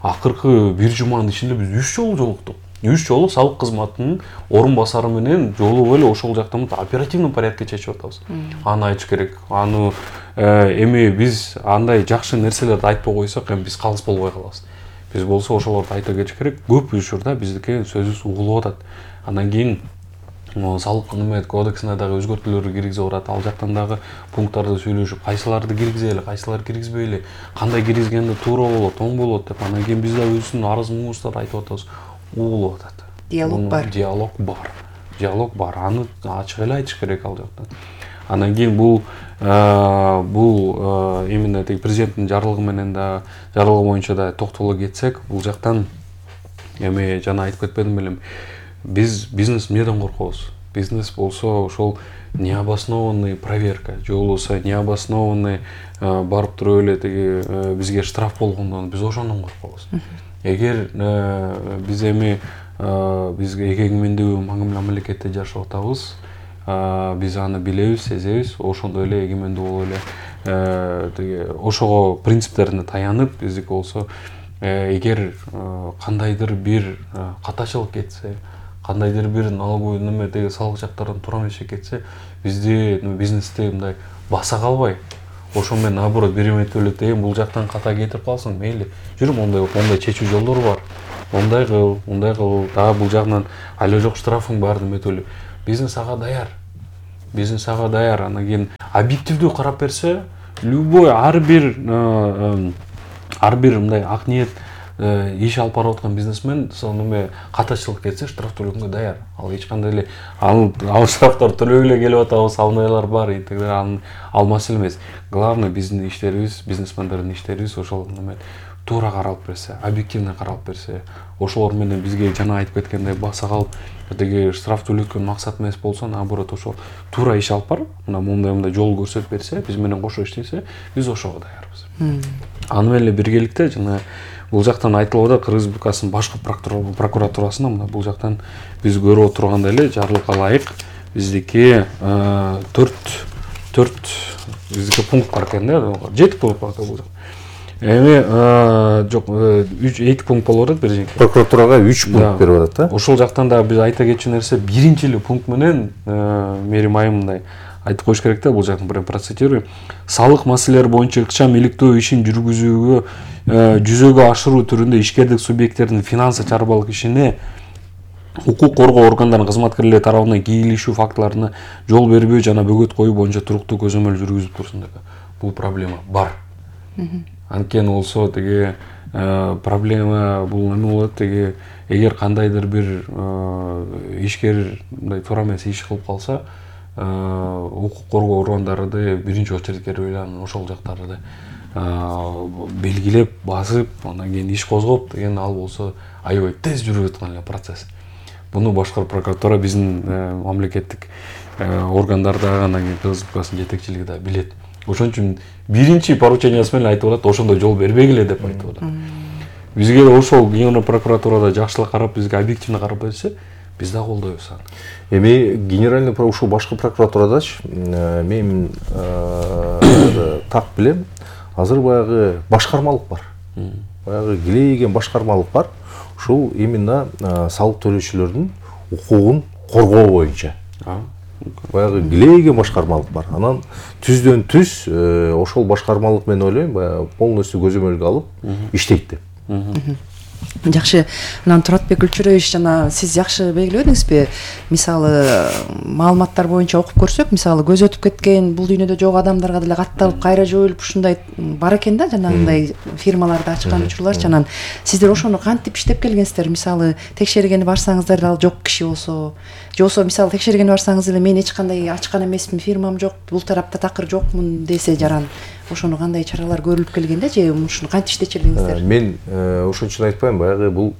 акыркы бир жуманын ичинде биз 3 жолу жолуктук. 3 жолу салык кызматынын орун басары менен жолугуп эле ошол жактан оперативный порядкте чечип атабыз. Аны айтыш керек. Аны эми биз андай жакшы нерселерди айтпай койсок, эми биз калыс болбой калабыз. Биз болсо ошолорду айта кетиш керек. Көп учурда биздики сөзүбүз угулуп атат. Андан кийин салык кодексине дагы өзгөртүүлөр киргизип атат. Ал жактан дагы пункттарды сүйлөшүп, кайсыларды киргизели, кайсыларды киргизбейли, кандай киргизгенде туура болот, оң болот деп. Андан кийин биз да өзүбүздүн арыз муңубузду айтып атабыз. Угулуп атат. Диалог бар. Диалог бар. Аны ачык эле айтыш керек ал жактан. Андан кийин бул именно президенттин жарлыгы менен да жарлыгы боюнча да токтоло кетсек, бул жактан эми жана айтып кетпедим белем. Биз бизнес эмнеден коркобуз? Бизнес болсо ошол необоснованный проверка, же болбосо необоснованный барып туруп эле тиги бизге штраф болгондон биз ошондон коркобуз. Эгер биз эми биз эгемендүү мамлекетте жашап атабыз, биз аны билебиз, сезебиз, ошондой эле эгемендүү болуп эле тиги ошого принциптерине таянып, биздики болсо эгер кандайдыр бир катачылык кетсе, кандайдыр бир налоговый неме деги салык жактардан туура эмес кетсе, бизди бизнести мындай баса калбай, ошо менен наоборот бир эметип эле бул жактан ката кетирип калсың, мейли. Жүрүм, мондай чечүү жолдору бар. мындай кыл, дагы бул жагынан айла жок штрафың бар деметели. Бизнес ага даяр. Анан кийин объективдүү карап берсе, любой ар бир мындай ак ниет иш алып барып аткан бизнесмен сону катачылык кетсе штраф төлөгөнгө даяр. Ал эч кандай эле ал штрафтар төлөп эле келип атабыз, алмайлар бар, ал маселе эмес. Главное биздин иштерибиз, бизнесмендердин иштерибиз ошол туура каралып берсе, объективно каралып берсе, ошолор менен бизге жана айтып кеткендей баса калып, деги штраф төлөткөн максат эмес болсо, наоборот ошо туура иш алып барып, мындай жол көрсөтүп берсе, биз менен кошо иштесе, биз ошого даярбыз. Аны менен эле биргеликте жана бул жактан айтылып атат, Кыргыз Республикасынын башкы прокуратурасына мына бул жактан биз көрүп отургандай эле жарлыкка ылайык биздики 4 биздики пункт бар экен да, 7 пункт бар бул жакта. Эми жок 2 пункт болуп атат бир. Прокуратурага 3 пункт берип атат да. Ошол жактан да биз айта кетчү нерсе, биринчи эле пункт менен Мээрим айым мындай айтып коюш керек да, бул жактан прям процитирую. Салык маселелери боюнча ыкчам иликтөө ишин жүргүзүүгө жүзөгө ашыруу түрүндө ишкердик субъекттердин финансы чарбалык ишине укук коргоо органдарынын кызматкерлери тарабынан кийлишүү фактыларына жол бербөө жана бөгөт коюу боюнча туруктуу көзөмөл жүргүзүп турсун деп. Бул проблема бар. Анткени болсо теги проблема бул эме болот, теги эгер кандайдыр бир ишкер мындай туура эмес иш кылып калса, укук коргоо органдары биринчи очередке ойланып ошол жактарды белгилеп, басып, андан кийин иш козгоп деген, ал болсо аябай тез жүрүп аткан эле процесс. Буну башкар прокуратура биздин мамлекеттик органдар дагы, андан кийин Кыргыз Республикасынын жетекчилиги да билет. Ошон үчүн биринчи поручениясы менен айтып атат, ошондой жол бербегиле деп айтып атат. Бизге ошол Генеральный прокуратурада жакшылап карап, бизге объективно карап берсе, биз да колдойбуз аны. Эми генеральный ушул башкы прокуратурадачы мен так билем, азыр баягы башкармалык бар. Баягы килейген башкармалык бар. Ушул именно салык төлөөчүлөрдүн укугун коргоо боюнча. Баягы килейген башкармалык бар. Анан түздөн түз ошол башкармалык мен ойлойм, баягы полностью көзөмөлгө алып иштейт деп. Жакшы. Анан Туратбек Гүлчүрөевич, жана сиз жакшы белгиледиңизби? Мисалы, маалыматтар боюнча окуп көрсөк, мисалы көз өтүп кеткен, бул дүйнөдө жок адамдарга деле катталып, кайра жоюлуп ушундай бар экен да, жанагындай фирмаларды ачкан учурлар. Анан сиздер ошону кантип иштеп келгенсиздер? Мисалы, текшергени барсаңыздар ал жок киши болсо, же болсо мисалы текшергени барсаңыз эле мен эч кандай ачкан эмесмин, фирмам жок, бул тарапта такыр жокмун десе жаран. Ошону кандай чаралар көрүлүп келгенде, же ушуну кантип иштечилдиңиздер? Мен ошон үчүн айтпайм, баягы бул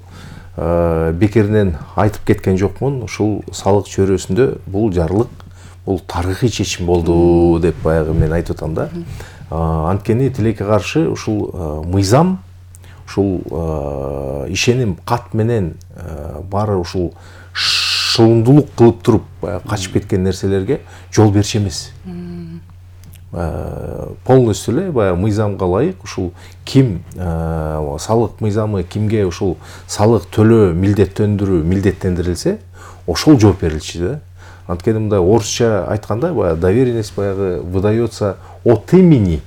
бекеринен айтып кеткен жокмун. Ушул салык чөйрөсүндө бул жарлык, бул тарыхый чечим болду деп баягы мен айтып атам да. Анткени тилекке каршы ушул мыйзам, ушул ишеним кат менен баары ушул шылымдуулук кылып туруп качып кеткен нерселерге жол берчү эмес. Полностью эле баягы мыйзамга ылайык ушул ким салык мыйзамы кимге ушул салык төлөө милдеттендирилсе, ошол жооп берилчү да. Анткени мындай орусча айтканда баягы доверенность баягы выдается от имени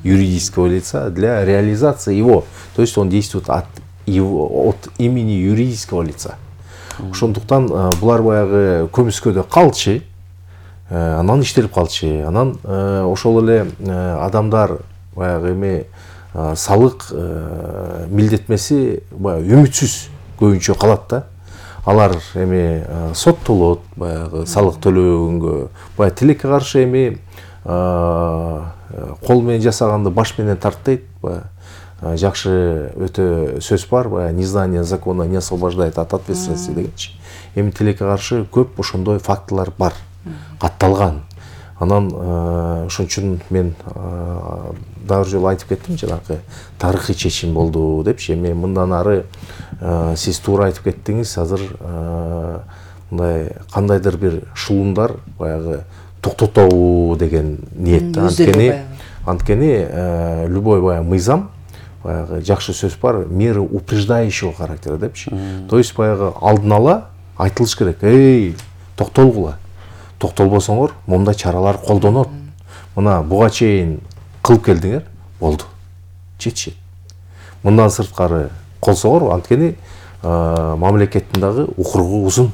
юридического лица для реализации его, то есть он действует от имени юридического лица. Ошондуктан булар баягы көмүскөдө калчы, анан иштелип калчы, анан ошол эле адамдар баягы эми салык милдетмеси баягы үмүтсүз көбүнчө калат да. Алар эми соттолот, баягы салык төлөгөнгө, баягы тилекке каршы эми кол менен жасаганды баш менен тарт дейт. Жакшы өтө сөз бар, баягы незнание закона не освобождает от ответственности дегенчи. Эми тилекке каршы көп ошондой фактылар бар, катталган. Анан ошон үчүн мен дагы бир жолу айтып кеттим, жанагы тарыхый чечим болду депчи. Эми мындан ары сиз туура айтып кеттиңиз, азыр мындай кандайдыр бир шылуундар баягы токтотобу деген ниет. Анткени любой баягы мыйзам, баягы жакшы сөз бар, меры упреждающего характера депчи. То есть баягы алдын ала айтылыш керек. Эй, токтолгула. Токтолбосоңор, мондай чаралар колдонот. Мына буга чейин кылып келдиңер, болду. Жетишет. Мындан сырткары колсоңор, анткени мамлекеттин дагы укугу узун.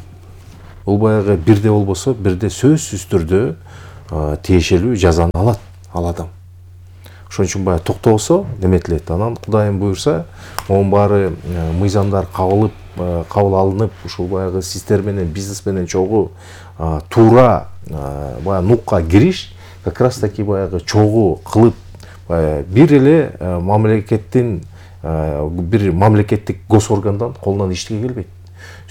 Бул баягы бирде болбосо бирде сөзсүз түрдө тиешелүү жазаны алат ал адам. Ошон үчүн баягы токтобосо неметилет. Анан Кудайым буйрса, монун баары мыйзамдар кабыл алынып, ушул баягы сиздер менен бизнес менен чогуу туура баягы нукка кириш как раз таки баягы чогуу кылып бир эле бир мамлекеттик госоргандан колунан иштеге келбейт.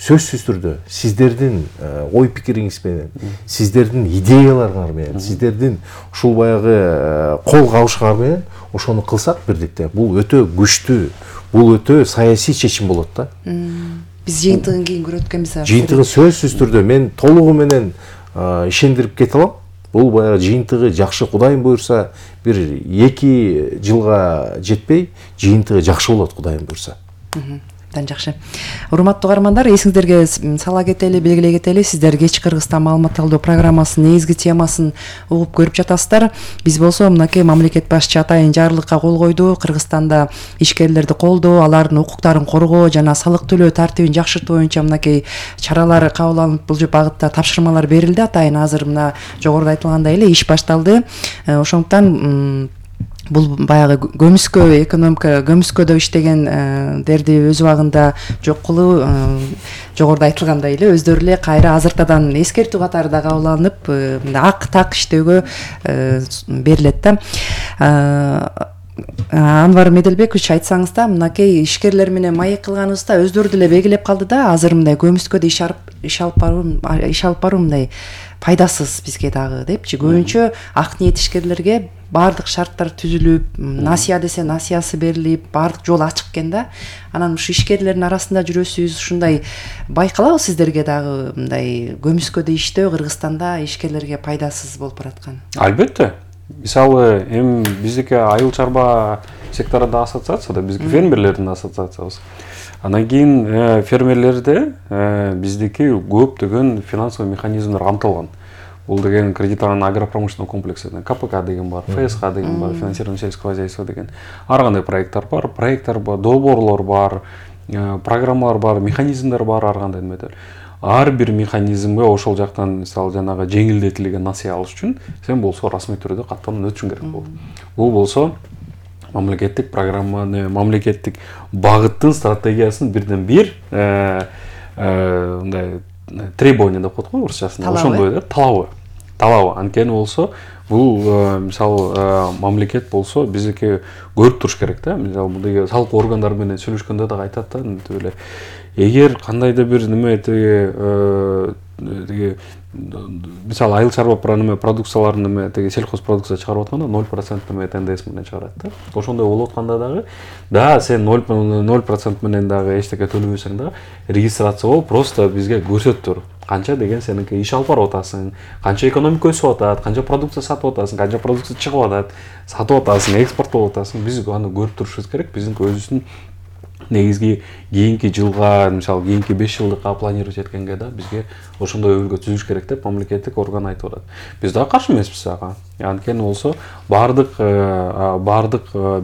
Сөзсүз түрдө сиздердин ой пикириңиз менен, сиздердин идеяларыңар менен, сиздердин ушул баягы кол кабышыңар менен ошону кылсак бирдикте, бул өтө күчтүү, бул өтө саясий чечим болот да. Биз жыйынтыгын кийин көрөт экенбиз. Жыйынтыгын сөзсүз түрдө мен толугу менен ишендирип кете алам. Бул баягы жыйынтыгы жакшы, Кудайым буйрса, бир 2 жылга жетпей жыйынтыгы жакшы болот, Кудайым буйрса. Абдан жакшы. Урматтуу угармандар, эсиңиздерге сала кетели, белгилей кетели, сиздер кеч Кыргызстан маалымат алуу программасынын негизги темасын угуп көрүп жатасыздар. Биз болсо мынакей мамлекет башчы атайын жарлыкка кол койду. Кыргызстанда ишкерлерди колдоо, алардын укуктарын коргоо жана салык төлөө тартибин жакшыртуу боюнча мынакей чаралар кабыл алынып, бул багытта тапшырмалар берилди. Атайын азыр мына жогоруда айтылгандай эле иш башталды. Ошондуктан бул баягы көмүскө экономика көмүскөдө иштегендерди өз убагында жок кылуу жогоруда айтылгандай эле өздөрү эле кайра азыртадан эскертүү катары да кабыл алынып ак так иштөөгө берилет да. Анвар Меделбекович, айтсаңыз да, мынакей ишкерлер менен маек кылганыбызда өздөрү деле белгилеп калды да, азыр мындай көмүскөдө иш алып баруу мындай пайдасыз бизге дагы депчи. Көбүнчө ак ниет ишкерлерге баардык шарттар түзүлүп, насыя десе насиясы берилип, баардык жол ачык экен да. Анан ушу ишкерлердин арасында жүрөсүз, ушундай байкалабы сиздерге дагы мындай көмүскөдө иштөө Кыргызстанда ишкерлерге пайдасыз болуп бараткан? Албетте. Мисалы, биздики айыл чарба секторунда ассоциация да, биздики фермерлердин ассоциациябыз. Анан кийин фермерлерде биздики көптөгөн финансовый механизмдер камтылган. Бул деген кредитование агропромышленного комплекса, КПК деген бар, ФСХ деген бар, финансирование сельского хозяйства деген. Ар кандай проекттер бар, долбоорлор бар, программалар бар, механизмдер бар, ар кандай неметер. Ар бир механизмге ошол жактан мисалы жанагы жеңилдетилген насыя алыш үчүн сен болсо расмий түрдө каттанып өтүшүң керек болот. Бул болсо мамлекеттик программаны, мамлекеттик багыттын стратегиясын бирден бир мындай требование деп коет го орусчасында. Ошондой да, талабы. Анткени болсо бул мисалы мамлекет болсо биздики көрүп туруш керек да. Мисалы бул салык органдары менен сүйлөшкөндө дагы айтат да, эле эгер кандайда бир неме тиги мисалы айыл чарба продукцияларын сельхоз продукция чыгарып атканда 0% НДС менен чыгарат да. Ошондой болуп атканда дагы сен 0% менен дагы эчтеке төлөбөсөң дагы регистрация болуп просто бизге көрсөтүп тур. Канча деген сеники иш алып барып атасың, канча экономика өсүп атат, канча продукция сатып атасың, канча продукция чыгып атат, сатып атасың, экспорттоп атасың. Биз аны көрүп турушубуз керек. Биздин өзүбүздүн негизги кийинки жылга, мисалы кийинки 5 жылдыкка планировать эткенге да бизге ошондой өлкө түзүш керек деп мамлекеттик орган айтып атат. Биз да каршы эмеспиз ага. Анткени болсо баардык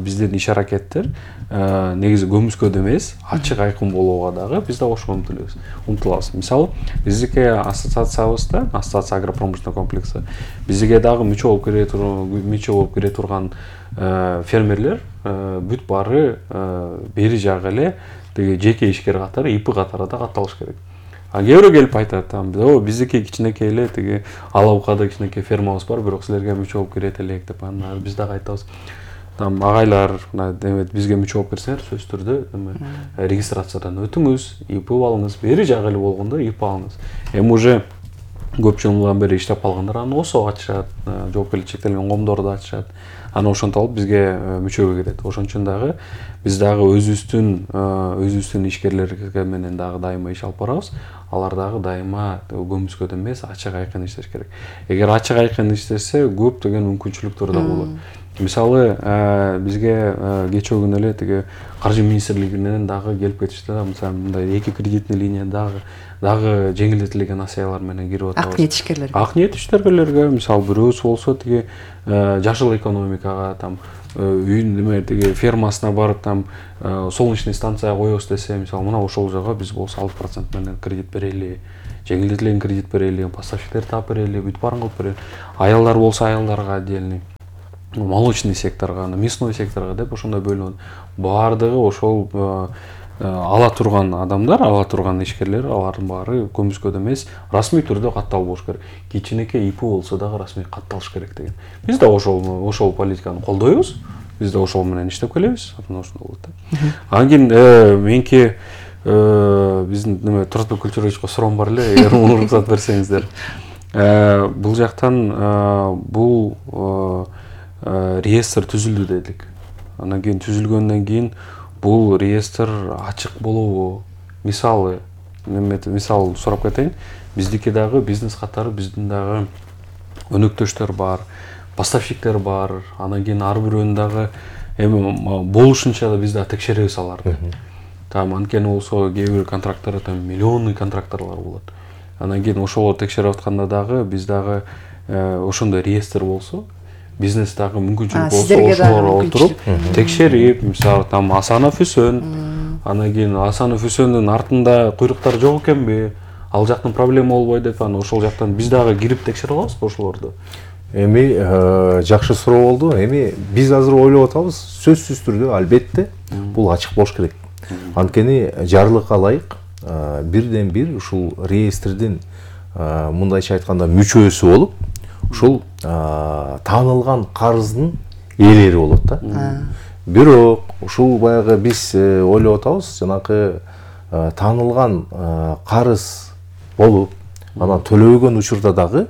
биздин иш аракеттер негизи көмүскөдө эмес, ачык айкын болууга дагы биз да ошого умтулабыз. Мисалы, биздики ассоциациябызда, ассоциация агропромышленного комплекса, бизге дагы мүчө болуп кире турган фермерлер бүт баары бери жагы эле деги жеке ишкер катары, ИП катары да катталыш керек. А кээ бирөө келип айтат, биздики кичинекей эле тиги Алабукада кичинекей фермабыз бар, бирок силерге мүчө болуп кирет элек деп анан биз дагы айтабыз. Агайлар, бизге мүчө болуп кирсеңер, сөзсүз түрдө регистрациядан өтүңүз, ИП алыңыз, бери жагы эле болгондо ИП алыңыз. Эми уже көп жылдан бери иштеп калгандар аны ОСО ачышат, жоопкерчилиги чектелген коомдорду ачышат. Аны ошентип алып бизге мүчөгө кирет. Ошон үчүн дагы биз дагы өзүбүздүн ишкерлерге менен дагы дайыма иш алып барабыз. Алар дагы дайыма көмүскөдө эмес, ачык айкын иштеш керек. Эгер ачык айкын иштесе, көптөгөн мүмкүнчүлүктөр да болот. Мисалы бизге кечээ күнү эле тиги каржы министрлигинен дагы келип кетишти да, мисалы мындай 2 кредитный линия дагы жеңилдетилген акциялар менен кирип атабыз. Ак ниет ишкерлерге. Ак ниет ишкерлерге, мисалы бирөөсү болсо тиги жашыл экономикага там үйүн тиги фермасына барып там солнечный станция коебуз десе, мисалы мына ошол жага биз болсо 6% менен кредит берели, жеңилдетилген кредит берели, поставщиктер таап берели, бүтүп баарын кылып берели. Аялдар болсо аялдарга отдельный, молочный секторга, мясной секторга деп ошондой бөлүнөт. Баардыгы ошол ала турган адамдар, ала турган ишкерлер, алардын баары көмүскөдө эмес, расмий түрдө катталып болуш керек. Кичинекей ИП болсо дагы расмий катталыш керек деген. Биз да ошол политиканы колдойбуз. Биз да ошол менен иштеп келебиз. Ошондой болот да. Анан кийин меники биздин Туратбек Күлчүрөевичке суроом бар эле, эгер уруксат берсеңиздер. Бул жактан бул реестр түзүлдү дедик. Анан кийин түзүлгөндөн кийин бул реестр ачык болобу? Мисалы сурап кетейин. Биздики дагы бизнес катары биздин дагы өнөктөштөр бар, поставщиктер бар. Анан кийин ар бирөөнүн дагы эми болушунча да биз да текшеребиз аларды. Там анткени болсо кээ бир контракттар там миллионный контракттарлар болот. Анан кийин ошолорду текшерип атканда дагы биз дагы ошондой реестр болсо, бизнес дагы мүмкүнчүлүк болсо ошолорго отуруп текшерип, мисалы там Асанов Үсөн, анан кийин Асанов Үсөндүн артында куйруктар жок экенби, ал жактын проблема болбойт деп, анан ошол жактан биз дагы кирип текшере алабызбы ошолорду? Эми жакшы суроо болду. Эми биз азыр ойлоп атабыз, сөзсүз түрдө албетте бул ачык болуш керек. Анткени жарлыкка ылайык бирден бир ушул реестрдин мындайча айтканда мүчөсү болуп, ушул таанылган карыздын ээлери болот да. Бирок ушул баягы биз ойлоп атабыз, жанакы таанылган карыз болуп, анан төлөбөгөн учурда дагы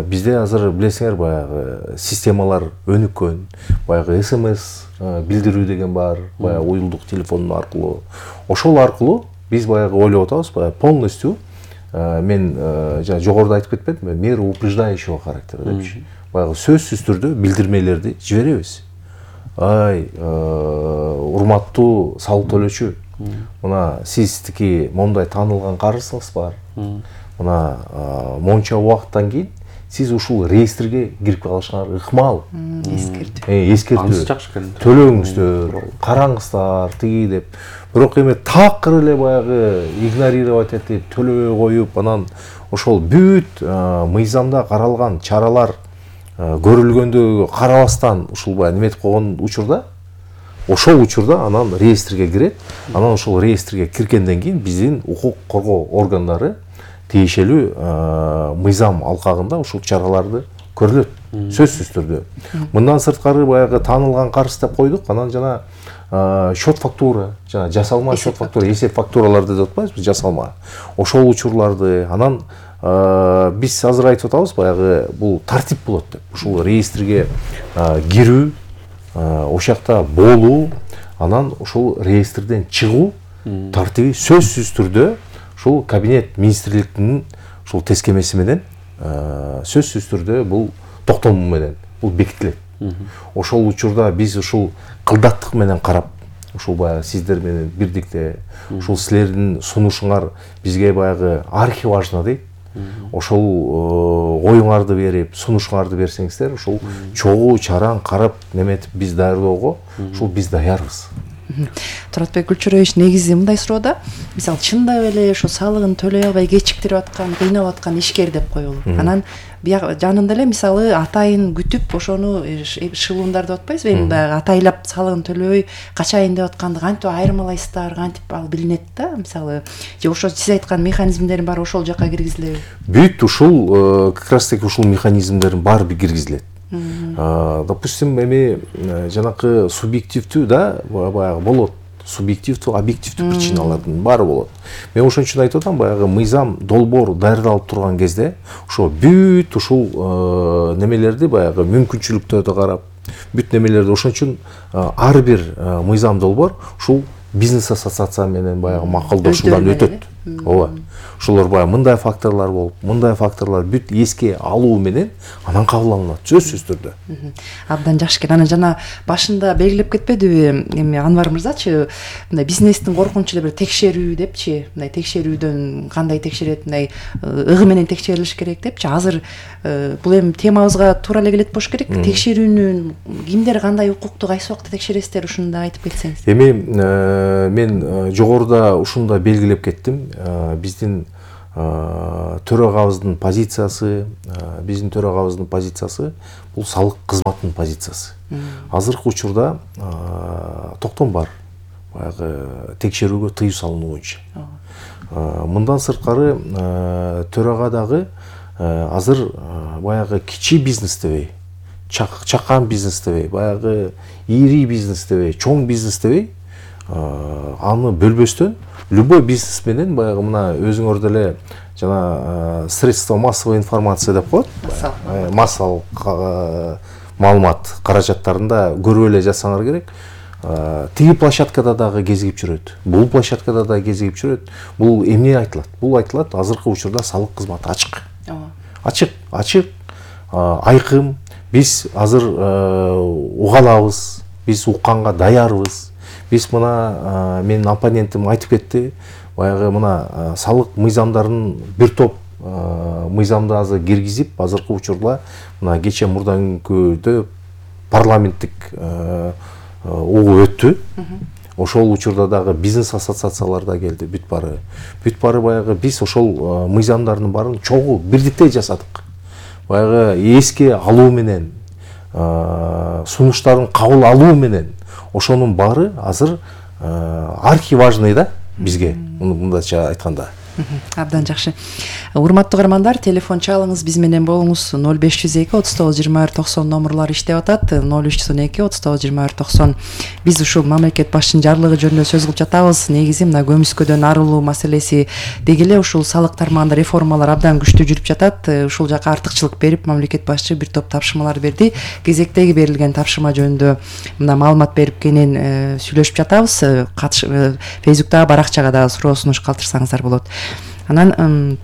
бизде азыр билесиңер баягы системалар өнүккөн, баягы СМС билдирүү деген бар, баягы уюлдук телефон аркылуу. Ошол аркылуу биз баягы ойлоп атабыз, баягы полностью мен жогоруда айтып кетпедимби, мера упреждающего характера депчи. Баягы сөзсүз түрдө билдирмелерди жиберебиз. Ай, урматтуу салык төлөөчү, мына сиздики момундай таанылган карызыңыз бар. Мына монча убакыттан кийин сиз ушул реестрге кирип калышыңар ыкмал. Эскертүү. Төлөөңүздөр, караңыздар тиги деп. Бирок эми такыр эле баягы игнорировать этип, төлөбөй коюп, анан ошол бүт мыйзамда каралган чаралар көрүлгөндө карабастан ушул баягы неметип койгон учурда, ошол учурда анан реестрге кирет. Анан ошол реестрге киргенден кийин биздин укук коргоо органдары тиешелүү мыйзам алкагында ушул чараларды көрүлөт, сөзсүз түрдө. Мындан сырткары баягы таанылган карыз деп койдук, анан жана счет фактура, жана жасалма счет фактура, эсеп фактураларды деп атпайбызбы, жасалма. Ошол учурларды анан биз азыр айтып атабыз, баягы бул тартип болот деп. Ушул реестрге кирүү, ошакта болуу, анан ушул реестрден чыгуу тартиби сөзсүз түрдө ушул кабинет министрликтин ушул тескемеси менен сөзсүз түрдө бул токтому менен бул бекитилет. Ошол учурда биз ушул кылдаттык менен карап, ушул баягы сиздер менен бирдикте ушул силердин сунушуңар бизге баягы архиважно дейт. Ошол оюңарды берип, сунушуңарды берсеңиздер, ушул чогуу чараң карап неметип биз даярдоого ушул биз даярбыз. Туратбек Күлчүрөевич негизи мындай суроодо, мисалы чындап эле ошо салыгын төлөй албай кечиктирип аткан, кыйнап аткан ишкер деп коелу. Анан жанында эле мисалы атайын күтүп ошону шылуундар деп атпайсызбы, эми баягы атайлап салыгын төлөбөй качайын деп атканды кантип айырмалайсыздар, кантип ал билинет да, мисалы же ошо сиз айткан механизмдердин баары ошол жакка киргизилеби? Бүт ушул как раз таки ушул механизмдердин баары киргизилет. Допустим, эми жанакы субъективдүү да баягы болот. Субъективдүү, объективдүү причиналардын баары болот. Мен ошон үчүн айтып атам, баягы мыйзам долбоор даярдалып турган кезде ошо бүт ушул немелерди баягы мүмкүнчүлүктөрдү карап, бүт немелерди ошон үчүн ар бир мыйзам долбоор ушул бизнес ассоциация менен баягы макулдошуудан өтөт. ооба. Ошолор баягы мындай факторлор болуп, мындай факторлор бүт эске алуу менен анан кабыл алынат, сөзсүз түрдө. Абдан жакшы экен. Анан жана башында белгилеп кетпедиби эми Анвар мырзачы, мындай бизнестин коркунучу эле бир текшерүү депчи, мындай текшерүүдөн кандай текшерет, мындай ыгы менен текшерилиш керек депчи. Азыр бул эми темабызга туура эле келет болуш керек. Текшерүүнү кимдер, кандай укукту, кайсы убакта текшересиздер, ушуну да айтып кетсеңиз. Эми мен жогоруда ушуну да белгилеп кеттим. Биздин төрагабыздын позициясы, бул салык кызматынын позициясы. Азыркы учурда токтом бар баягы текшерүүгө тыюу салынуу боюнча. Мындан сырткары төрага дагы азыр баягы кичи бизнес дебей, чакан бизнес дебей, баягы ири бизнес дебей, чоң бизнес дебей, аны бөлбөстөн любой бизнес менен баягы мына өзүңөр деле жана средства массовой информация деп коет, массалык маалымат каражаттарында көрүп эле жатсаңар керек. Тиги площадкада дагы кезигип жүрөт, бул площадкада дагы кезигип жүрөт. Бул эмне айтылат? Бул айтылат азыркы учурда салык кызматы ачык. Ачык, айкын. Биз азыр уга алабыз, биз укканга даярбыз. Биз мына менин оппонентим айтып кетти, баягы мына салык мыйзамдарын бир топ мыйзамды азыр киргизип, азыркы учурда мына кече мурдан күндө парламенттик угу өттү. Ошол учурда дагы бизнес ассоциациялар да келди, бүт бары баягы биз ошол мыйзамдардын баарын чогуу бирдиктей жасадык. Баягы эске алуу менен, сунуштарын кабыл алуу менен ошонун баары азыр архиважный да бизге, мындайча айтканда. Абдан жакшы. Урматтуу угармандар, телефон чалыңыз, биз менен болуңуз. 0502 39 22 90 номерлор иштеп атат. 0312 39 22 90. Биз ушул мамлекет башчынын жарлыгы жөнүндө сөз кылып жатабыз. Негизи мына көмүскөдөн арылуу маселеси деги эле ушул салык тармагында реформалар абдан күчтүү жүрүп жатат. Ушул жака артыкчылык берип, мамлекет башчы бир топ тапшырмалар берди. Кезектеги берилген тапшырма жөнүндө мына маалымат берип кенен сүйлөшүп жатабыз. Фейсбуктагы баракчага дагы суроо сунуш калтырсаңыздар болот. Анан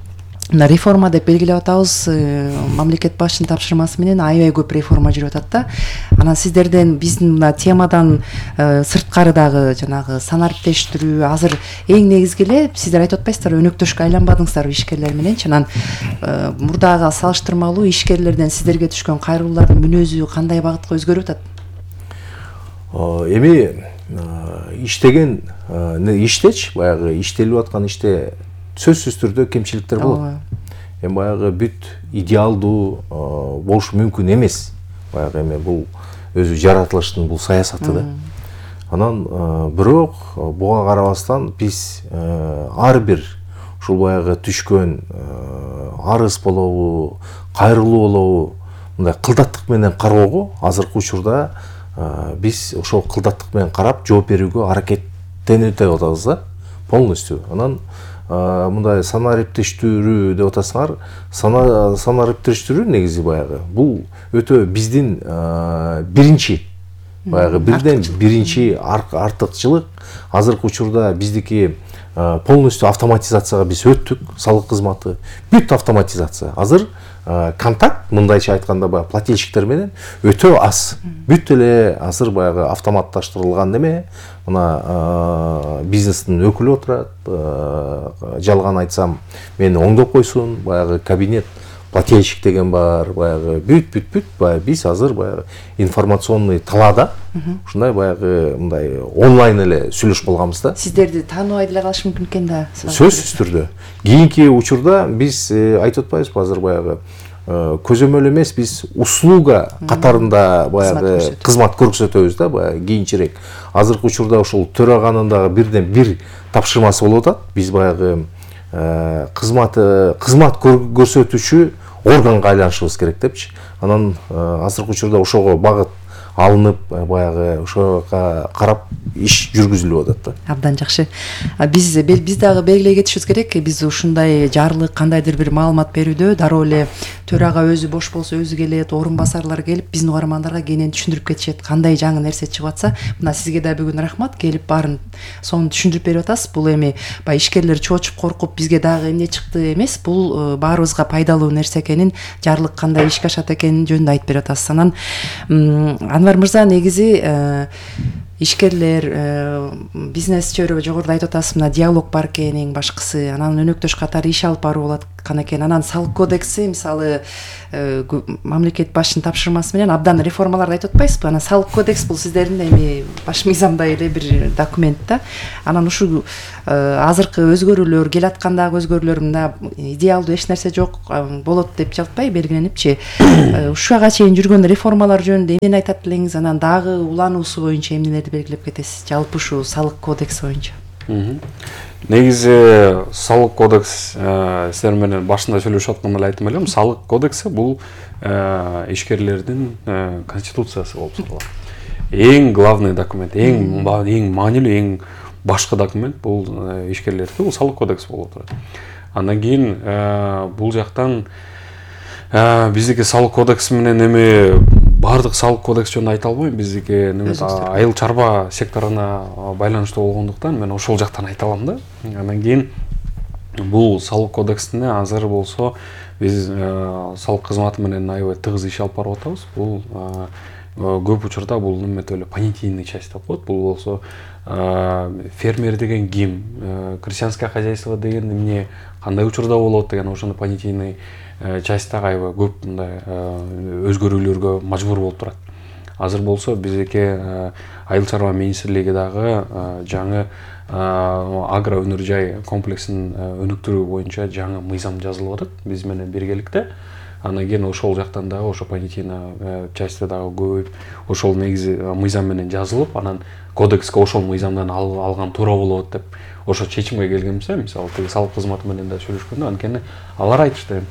мына реформа деп белгилеп атабыз. Мамлекет башчынын тапшырмасы менен аябай көп реформа жүрүп атат да. Анан сиздерден биздин мына темадан сырткары дагы жанагы санариптештирүү азыр эң негизги эле сиздер айтып атпайсыздарбы, өнөктөшкө айланбадыңыздарбы ишкерлер мененчи. Анан мурдага салыштырмалуу ишкерлерден сиздерге түшкөн кайрылуулардын мүнөзү кандай багытка өзгөрүп атат? Эми иштеген иштечи, баягы иштелип аткан иште сөзсүз түрдө кемчиликтер болот. Эми баягы бүт идеалдуу болушу мүмкүн эмес. Баягы эми бул өзү жаратылыштын бул саясаты да. Анан бирок буга карабастан биз ар бир ушул баягы түшкөн арыз болобу, кайрылуу болобу, мындай кылдаттык менен кароого азыркы учурда биз ошол кылдаттык менен карап жооп берүүгө аракеттенип атабыз да, полностью. Анан мындай санариптештирүү деп атасыңар, санариптештирүү негизи баягы бул өтө биздин биринчи баягы бирден биринчи артыкчылык. Азыркы учурда биздики полностью автоматизацияга биз өттүк, салык кызматы бүт автоматизация. Азыр контакт, мындайча айтканда баягы плательщиктер менен өтө аз. Бүт эле азыр баягы автоматташтырылган неме. Мына бизнестин өкүлү отурат, жалган айтсам мени оңдоп койсун, баягы кабинет плательщик деген бар, баягы бүт баягы биз азыр баягы информационный талаада ушундай баягы мындай онлайн эле сүйлөшүп калганбыз да. Сиздерди тааныбай деле калышы мүмкүн экен да. Сөзсүз түрдө. Кийинки учурда биз айтып атпайбызбы, азыр баягы көзөмөл эмес, биз услуга катарында баягы кызмат көрсөтөбүз да, баягы кийинчерээк. Азыркы учурда ошол төраганын дагы бирден бир тапшырмасы болуп атат. Биз баягы кызмат көрсөтүүчү органга айланышыбыз керек депчи. Анан азыркы учурда ошого багыт алынып, баягы ошого карап иш жүргүзүлүп атат да. Абдан жакшы. Биз дагы белгилей кетишибиз керек. Биз ушундай жарлык, кандайдыр бир маалымат берүүдө дароо эле төрага өзү бош болсо өзү келет, орун басарлар келип биздин угармандарга кенен түшүндүрүп кетишет, кандай жаңы нерсе чыгып атса. Мына сизге да бүгүн рахмат, келип баарын сонун түшүндүрүп берип атасыз. Бул эми баягы ишкерлер чоочуп коркуп бизге дагы эмне чыкты эмес, бул баарыбызга пайдалуу нерсе экенин, жарлык кандай ишке ашат экенин жөнүндө айтып берип атасыз. Анан Анвар мырза, негизи ишкерлер, бизнес чөйрө жогоруда айтып атасыз, мына диалог бар экен, эң башкысы, анан өнөктөш катары иш алып баруу болот экен. Анан салык кодекси, мисалы, мамлекет башчынын тапшырмасы менен абдан реформаларды айтып атпайсызбы? Анан салык кодекс бул сиздердин эми баш мыйзамдай эле бир документ да. Анан ушул азыркы өзгөрүүлөр, келаткандагы өзгөрүүлөр мына идеалдуу эч нерсе жок болот деп жатпай белгиленипчи. Ушуга чейин жүргөн реформалар жөнүндө эмнени айтат элеңиз? Анан дагы улануусу боюнча эмнелерди белгилеп кетесиз? Жалпы ушу салык кодекс боюнча. Негизи салык кодекс сиздер менен башында сүйлөшүп атканда эле айттым элем, салык кодекси бул ишкерлердин конституциясы болуп саналат. Эң главный документ, эң маанилүү, эң башкы документ бул ишкерлердики, бул салык кодекс болуп турат. Андан кийин бул жактан биздики салык кодекси менен эми баардык салык кодекс жөнүндө айта албайм. Биздики айыл чарба секторуна байланыштуу болгондуктан мен ошол жактан айта алам да. Андан кийин бул салык кодексине азыр болсо биз салык кызматы менен аябай тыгыз иш алып барып атабыз. Бул көп учурда бул неметип эле понятийный часть деп коет. Бул болсо фермер деген ким, крестьянское хозяйство деген эмне, кандай учурда болот деген ошону понятийный частьтагы аябай көп мындай өзгөрүүлөргө мажбур болуп турат. Азыр болсо биздики айыл чарба министрлиги дагы жаңы агро өнөр жай комплексин өнүктүрүү боюнча жаңы мыйзам жазылып атат биз менен биргеликте. Андан кийин ошол жактан дагы ошо понятийный частьта дагы көбөйүп, ошол негизи мыйзам менен жазылып, анан кодекске ошол мыйзамдан алган туура болот деп ошо чечимге келгенбиз. Мисалы тиги салык кызматы менен да сүйлөшкөндө, анткени алар айтышты,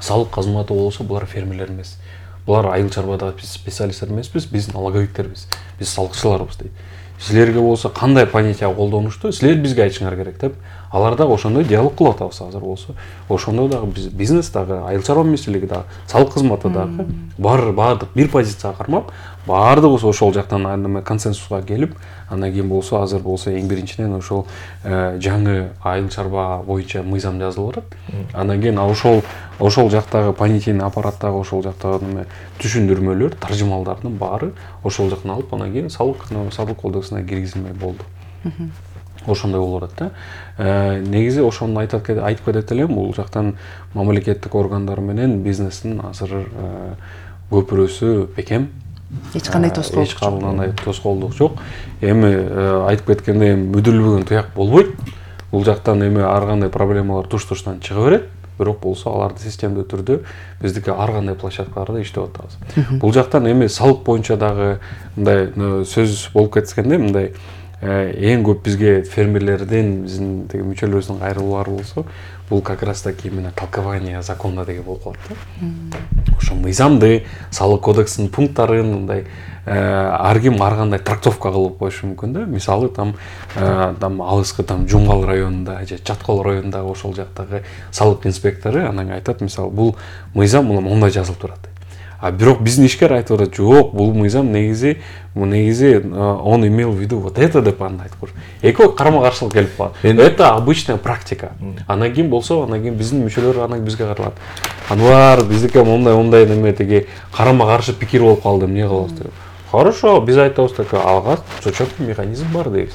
салык кызматы болсо булар фермерлер эмес. Булар айыл чарбадагы специалисттер эмеспиз, биз налоговиктербиз, биз салыкчыларбыз дейт. Силерге болсо кандай понятие колдонушту, силер бизге айтышыңар керек деп, алар дагы ошондой диалог кылып атабыз азыр болсо. Ошондо дагы биз бизнес дагы, айыл чарба министрлиги дагы, салык кызматы дагы баардык бир позицияга кармап, баардыгыбыз ошол жактан консенсуска келип, андан кийин болсо азыр болсо эң биринчиден ошол жаңы айыл чарба боюнча мыйзам жазылып атат. Андан кийин ошол жактагы понятийный аппараттагы ошол жактагы түшүндүрмөлөр, таржымалдардын баары ошол жактан алып, андан кийин салык кодексине киргизилмей болду. Ошондой болуп атат да. Негизи ошону айтып кетет элем, бул жактан мамлекеттик органдар менен бизнестин азыр көпүрөсү бекем. Эч кандай тоскоолдук жок. Эч кандай тоскоолдук жок. Эми айтып кеткендей мүдүлбөгөн туяк болбойт. Бул жактан эми ар кандай проблемалар туш-туштан чыга берет. Бирок болсо аларды системдүү түрдө биздики ар кандай площадкаларда иштеп атабыз. Бул жактан эми салык боюнча дагы мындай сөз болуп кеткенде, мындай эң көп бизге фермерлердин, биздин тиги мүчөлөрүбүздүн кайрылуулары болсо, бул как раз таки именно толкование закона деген болуп калат да. Ошо мыйзамды, салык кодексинин пункттарын мындай ар ким ар кандай трактовка кылып коюшу мүмкүн да. Мисалы там алыскы Жумгал районунда же Чаткол районундагы ошол жактагы салык инспектору анан айтат, мисалы бул мыйзам мондай жазылып турат. А бирок биздин ишкер айтып атат, жок, бул мыйзам негизи он имел в виду вот это деп аны айтып коюш. Экөө карама-каршылык келип калат. Это обычная практика. Андан кийин болсо, андан кийин биздин мүчөлөр анан бизге кайрылат. Анвар, биздики мондай неме тиги карама-каршы пикир болуп калды, эмне кылабыз деп. Хорошо, биз айтабыз так, алга четкий механизм бар дейбиз.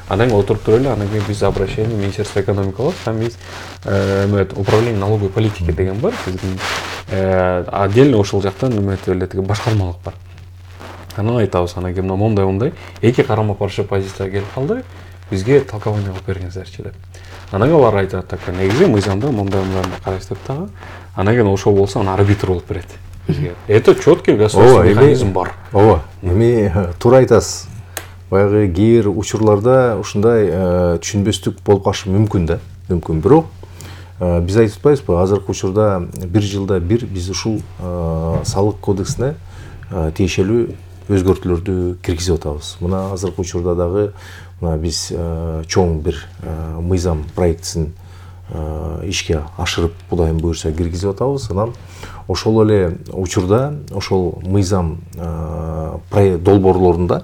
Анан отуруп туруп эле, анан кийин биз обращение Министерство экономики кылабыз, там есть управление налоговой политики деген бар, биздин отдельно ошол жактан неметип эле тиги башкармалык бар. Анан айтабыз, анан кийин мондай эки карама-каршы позицияга келип калды, бизге толкование кылып бериңиздерчи деп. Анан алар айтат так, негизи мыйзамда мондай карайсыз деп дагы. Анан кийин ошол болсо анан арбитр болуп берет бизге. Это четкий государственный механизм бар. Ооба, эми туура айтасыз. Баягы кээ бир учурларда ушундай түшүнбөстүк болуп калышы мүмкүн да, мүмкүн. Бирок биз айтып атпайбызбы, азыркы учурда бир жылда бир биз ушул салык кодексине тиешелүү өзгөртүүлөрдү киргизип атабыз. Мына азыркы учурда дагы мына биз чоң бир мыйзам проектисин ишке ашырып Кудайым буюрса киргизип атабыз. Анан ошол эле учурда ошол мыйзам долбоорлорунда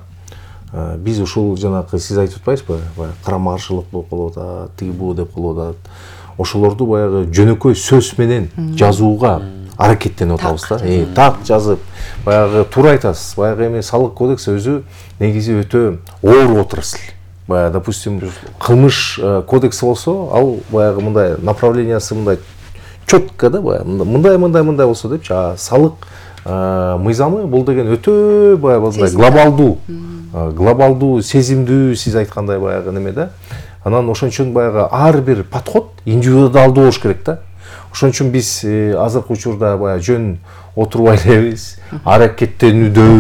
биз ушул жанагы сиз айтып атпайсызбы, карама каршылык болуп калып атат, тиги бу деп калып атат. Ошолорду баягы жөнөкөй сөз менен жазууга аракеттенип атабыз да. Так жазып, баягы туура айтасыз. Баягы эми салык кодекс өзү негизи өтө оор отрасль. Баягы, допустим, кылмыш кодекси болсо, ал баягы мындай направлениясы мындай четко да, мындай болсо депчи. Салык мыйзамы бул деген өтө баягы мындай глобалдуу, сезимдүү, сиз айткандай баягы неме да. Анан ошон үчүн баягы ар бир подход индивидуалдуу болуш керек да. Ошон үчүн биз азыркы учурда баягы жөн отурбай элебиз, аракеттенүүдө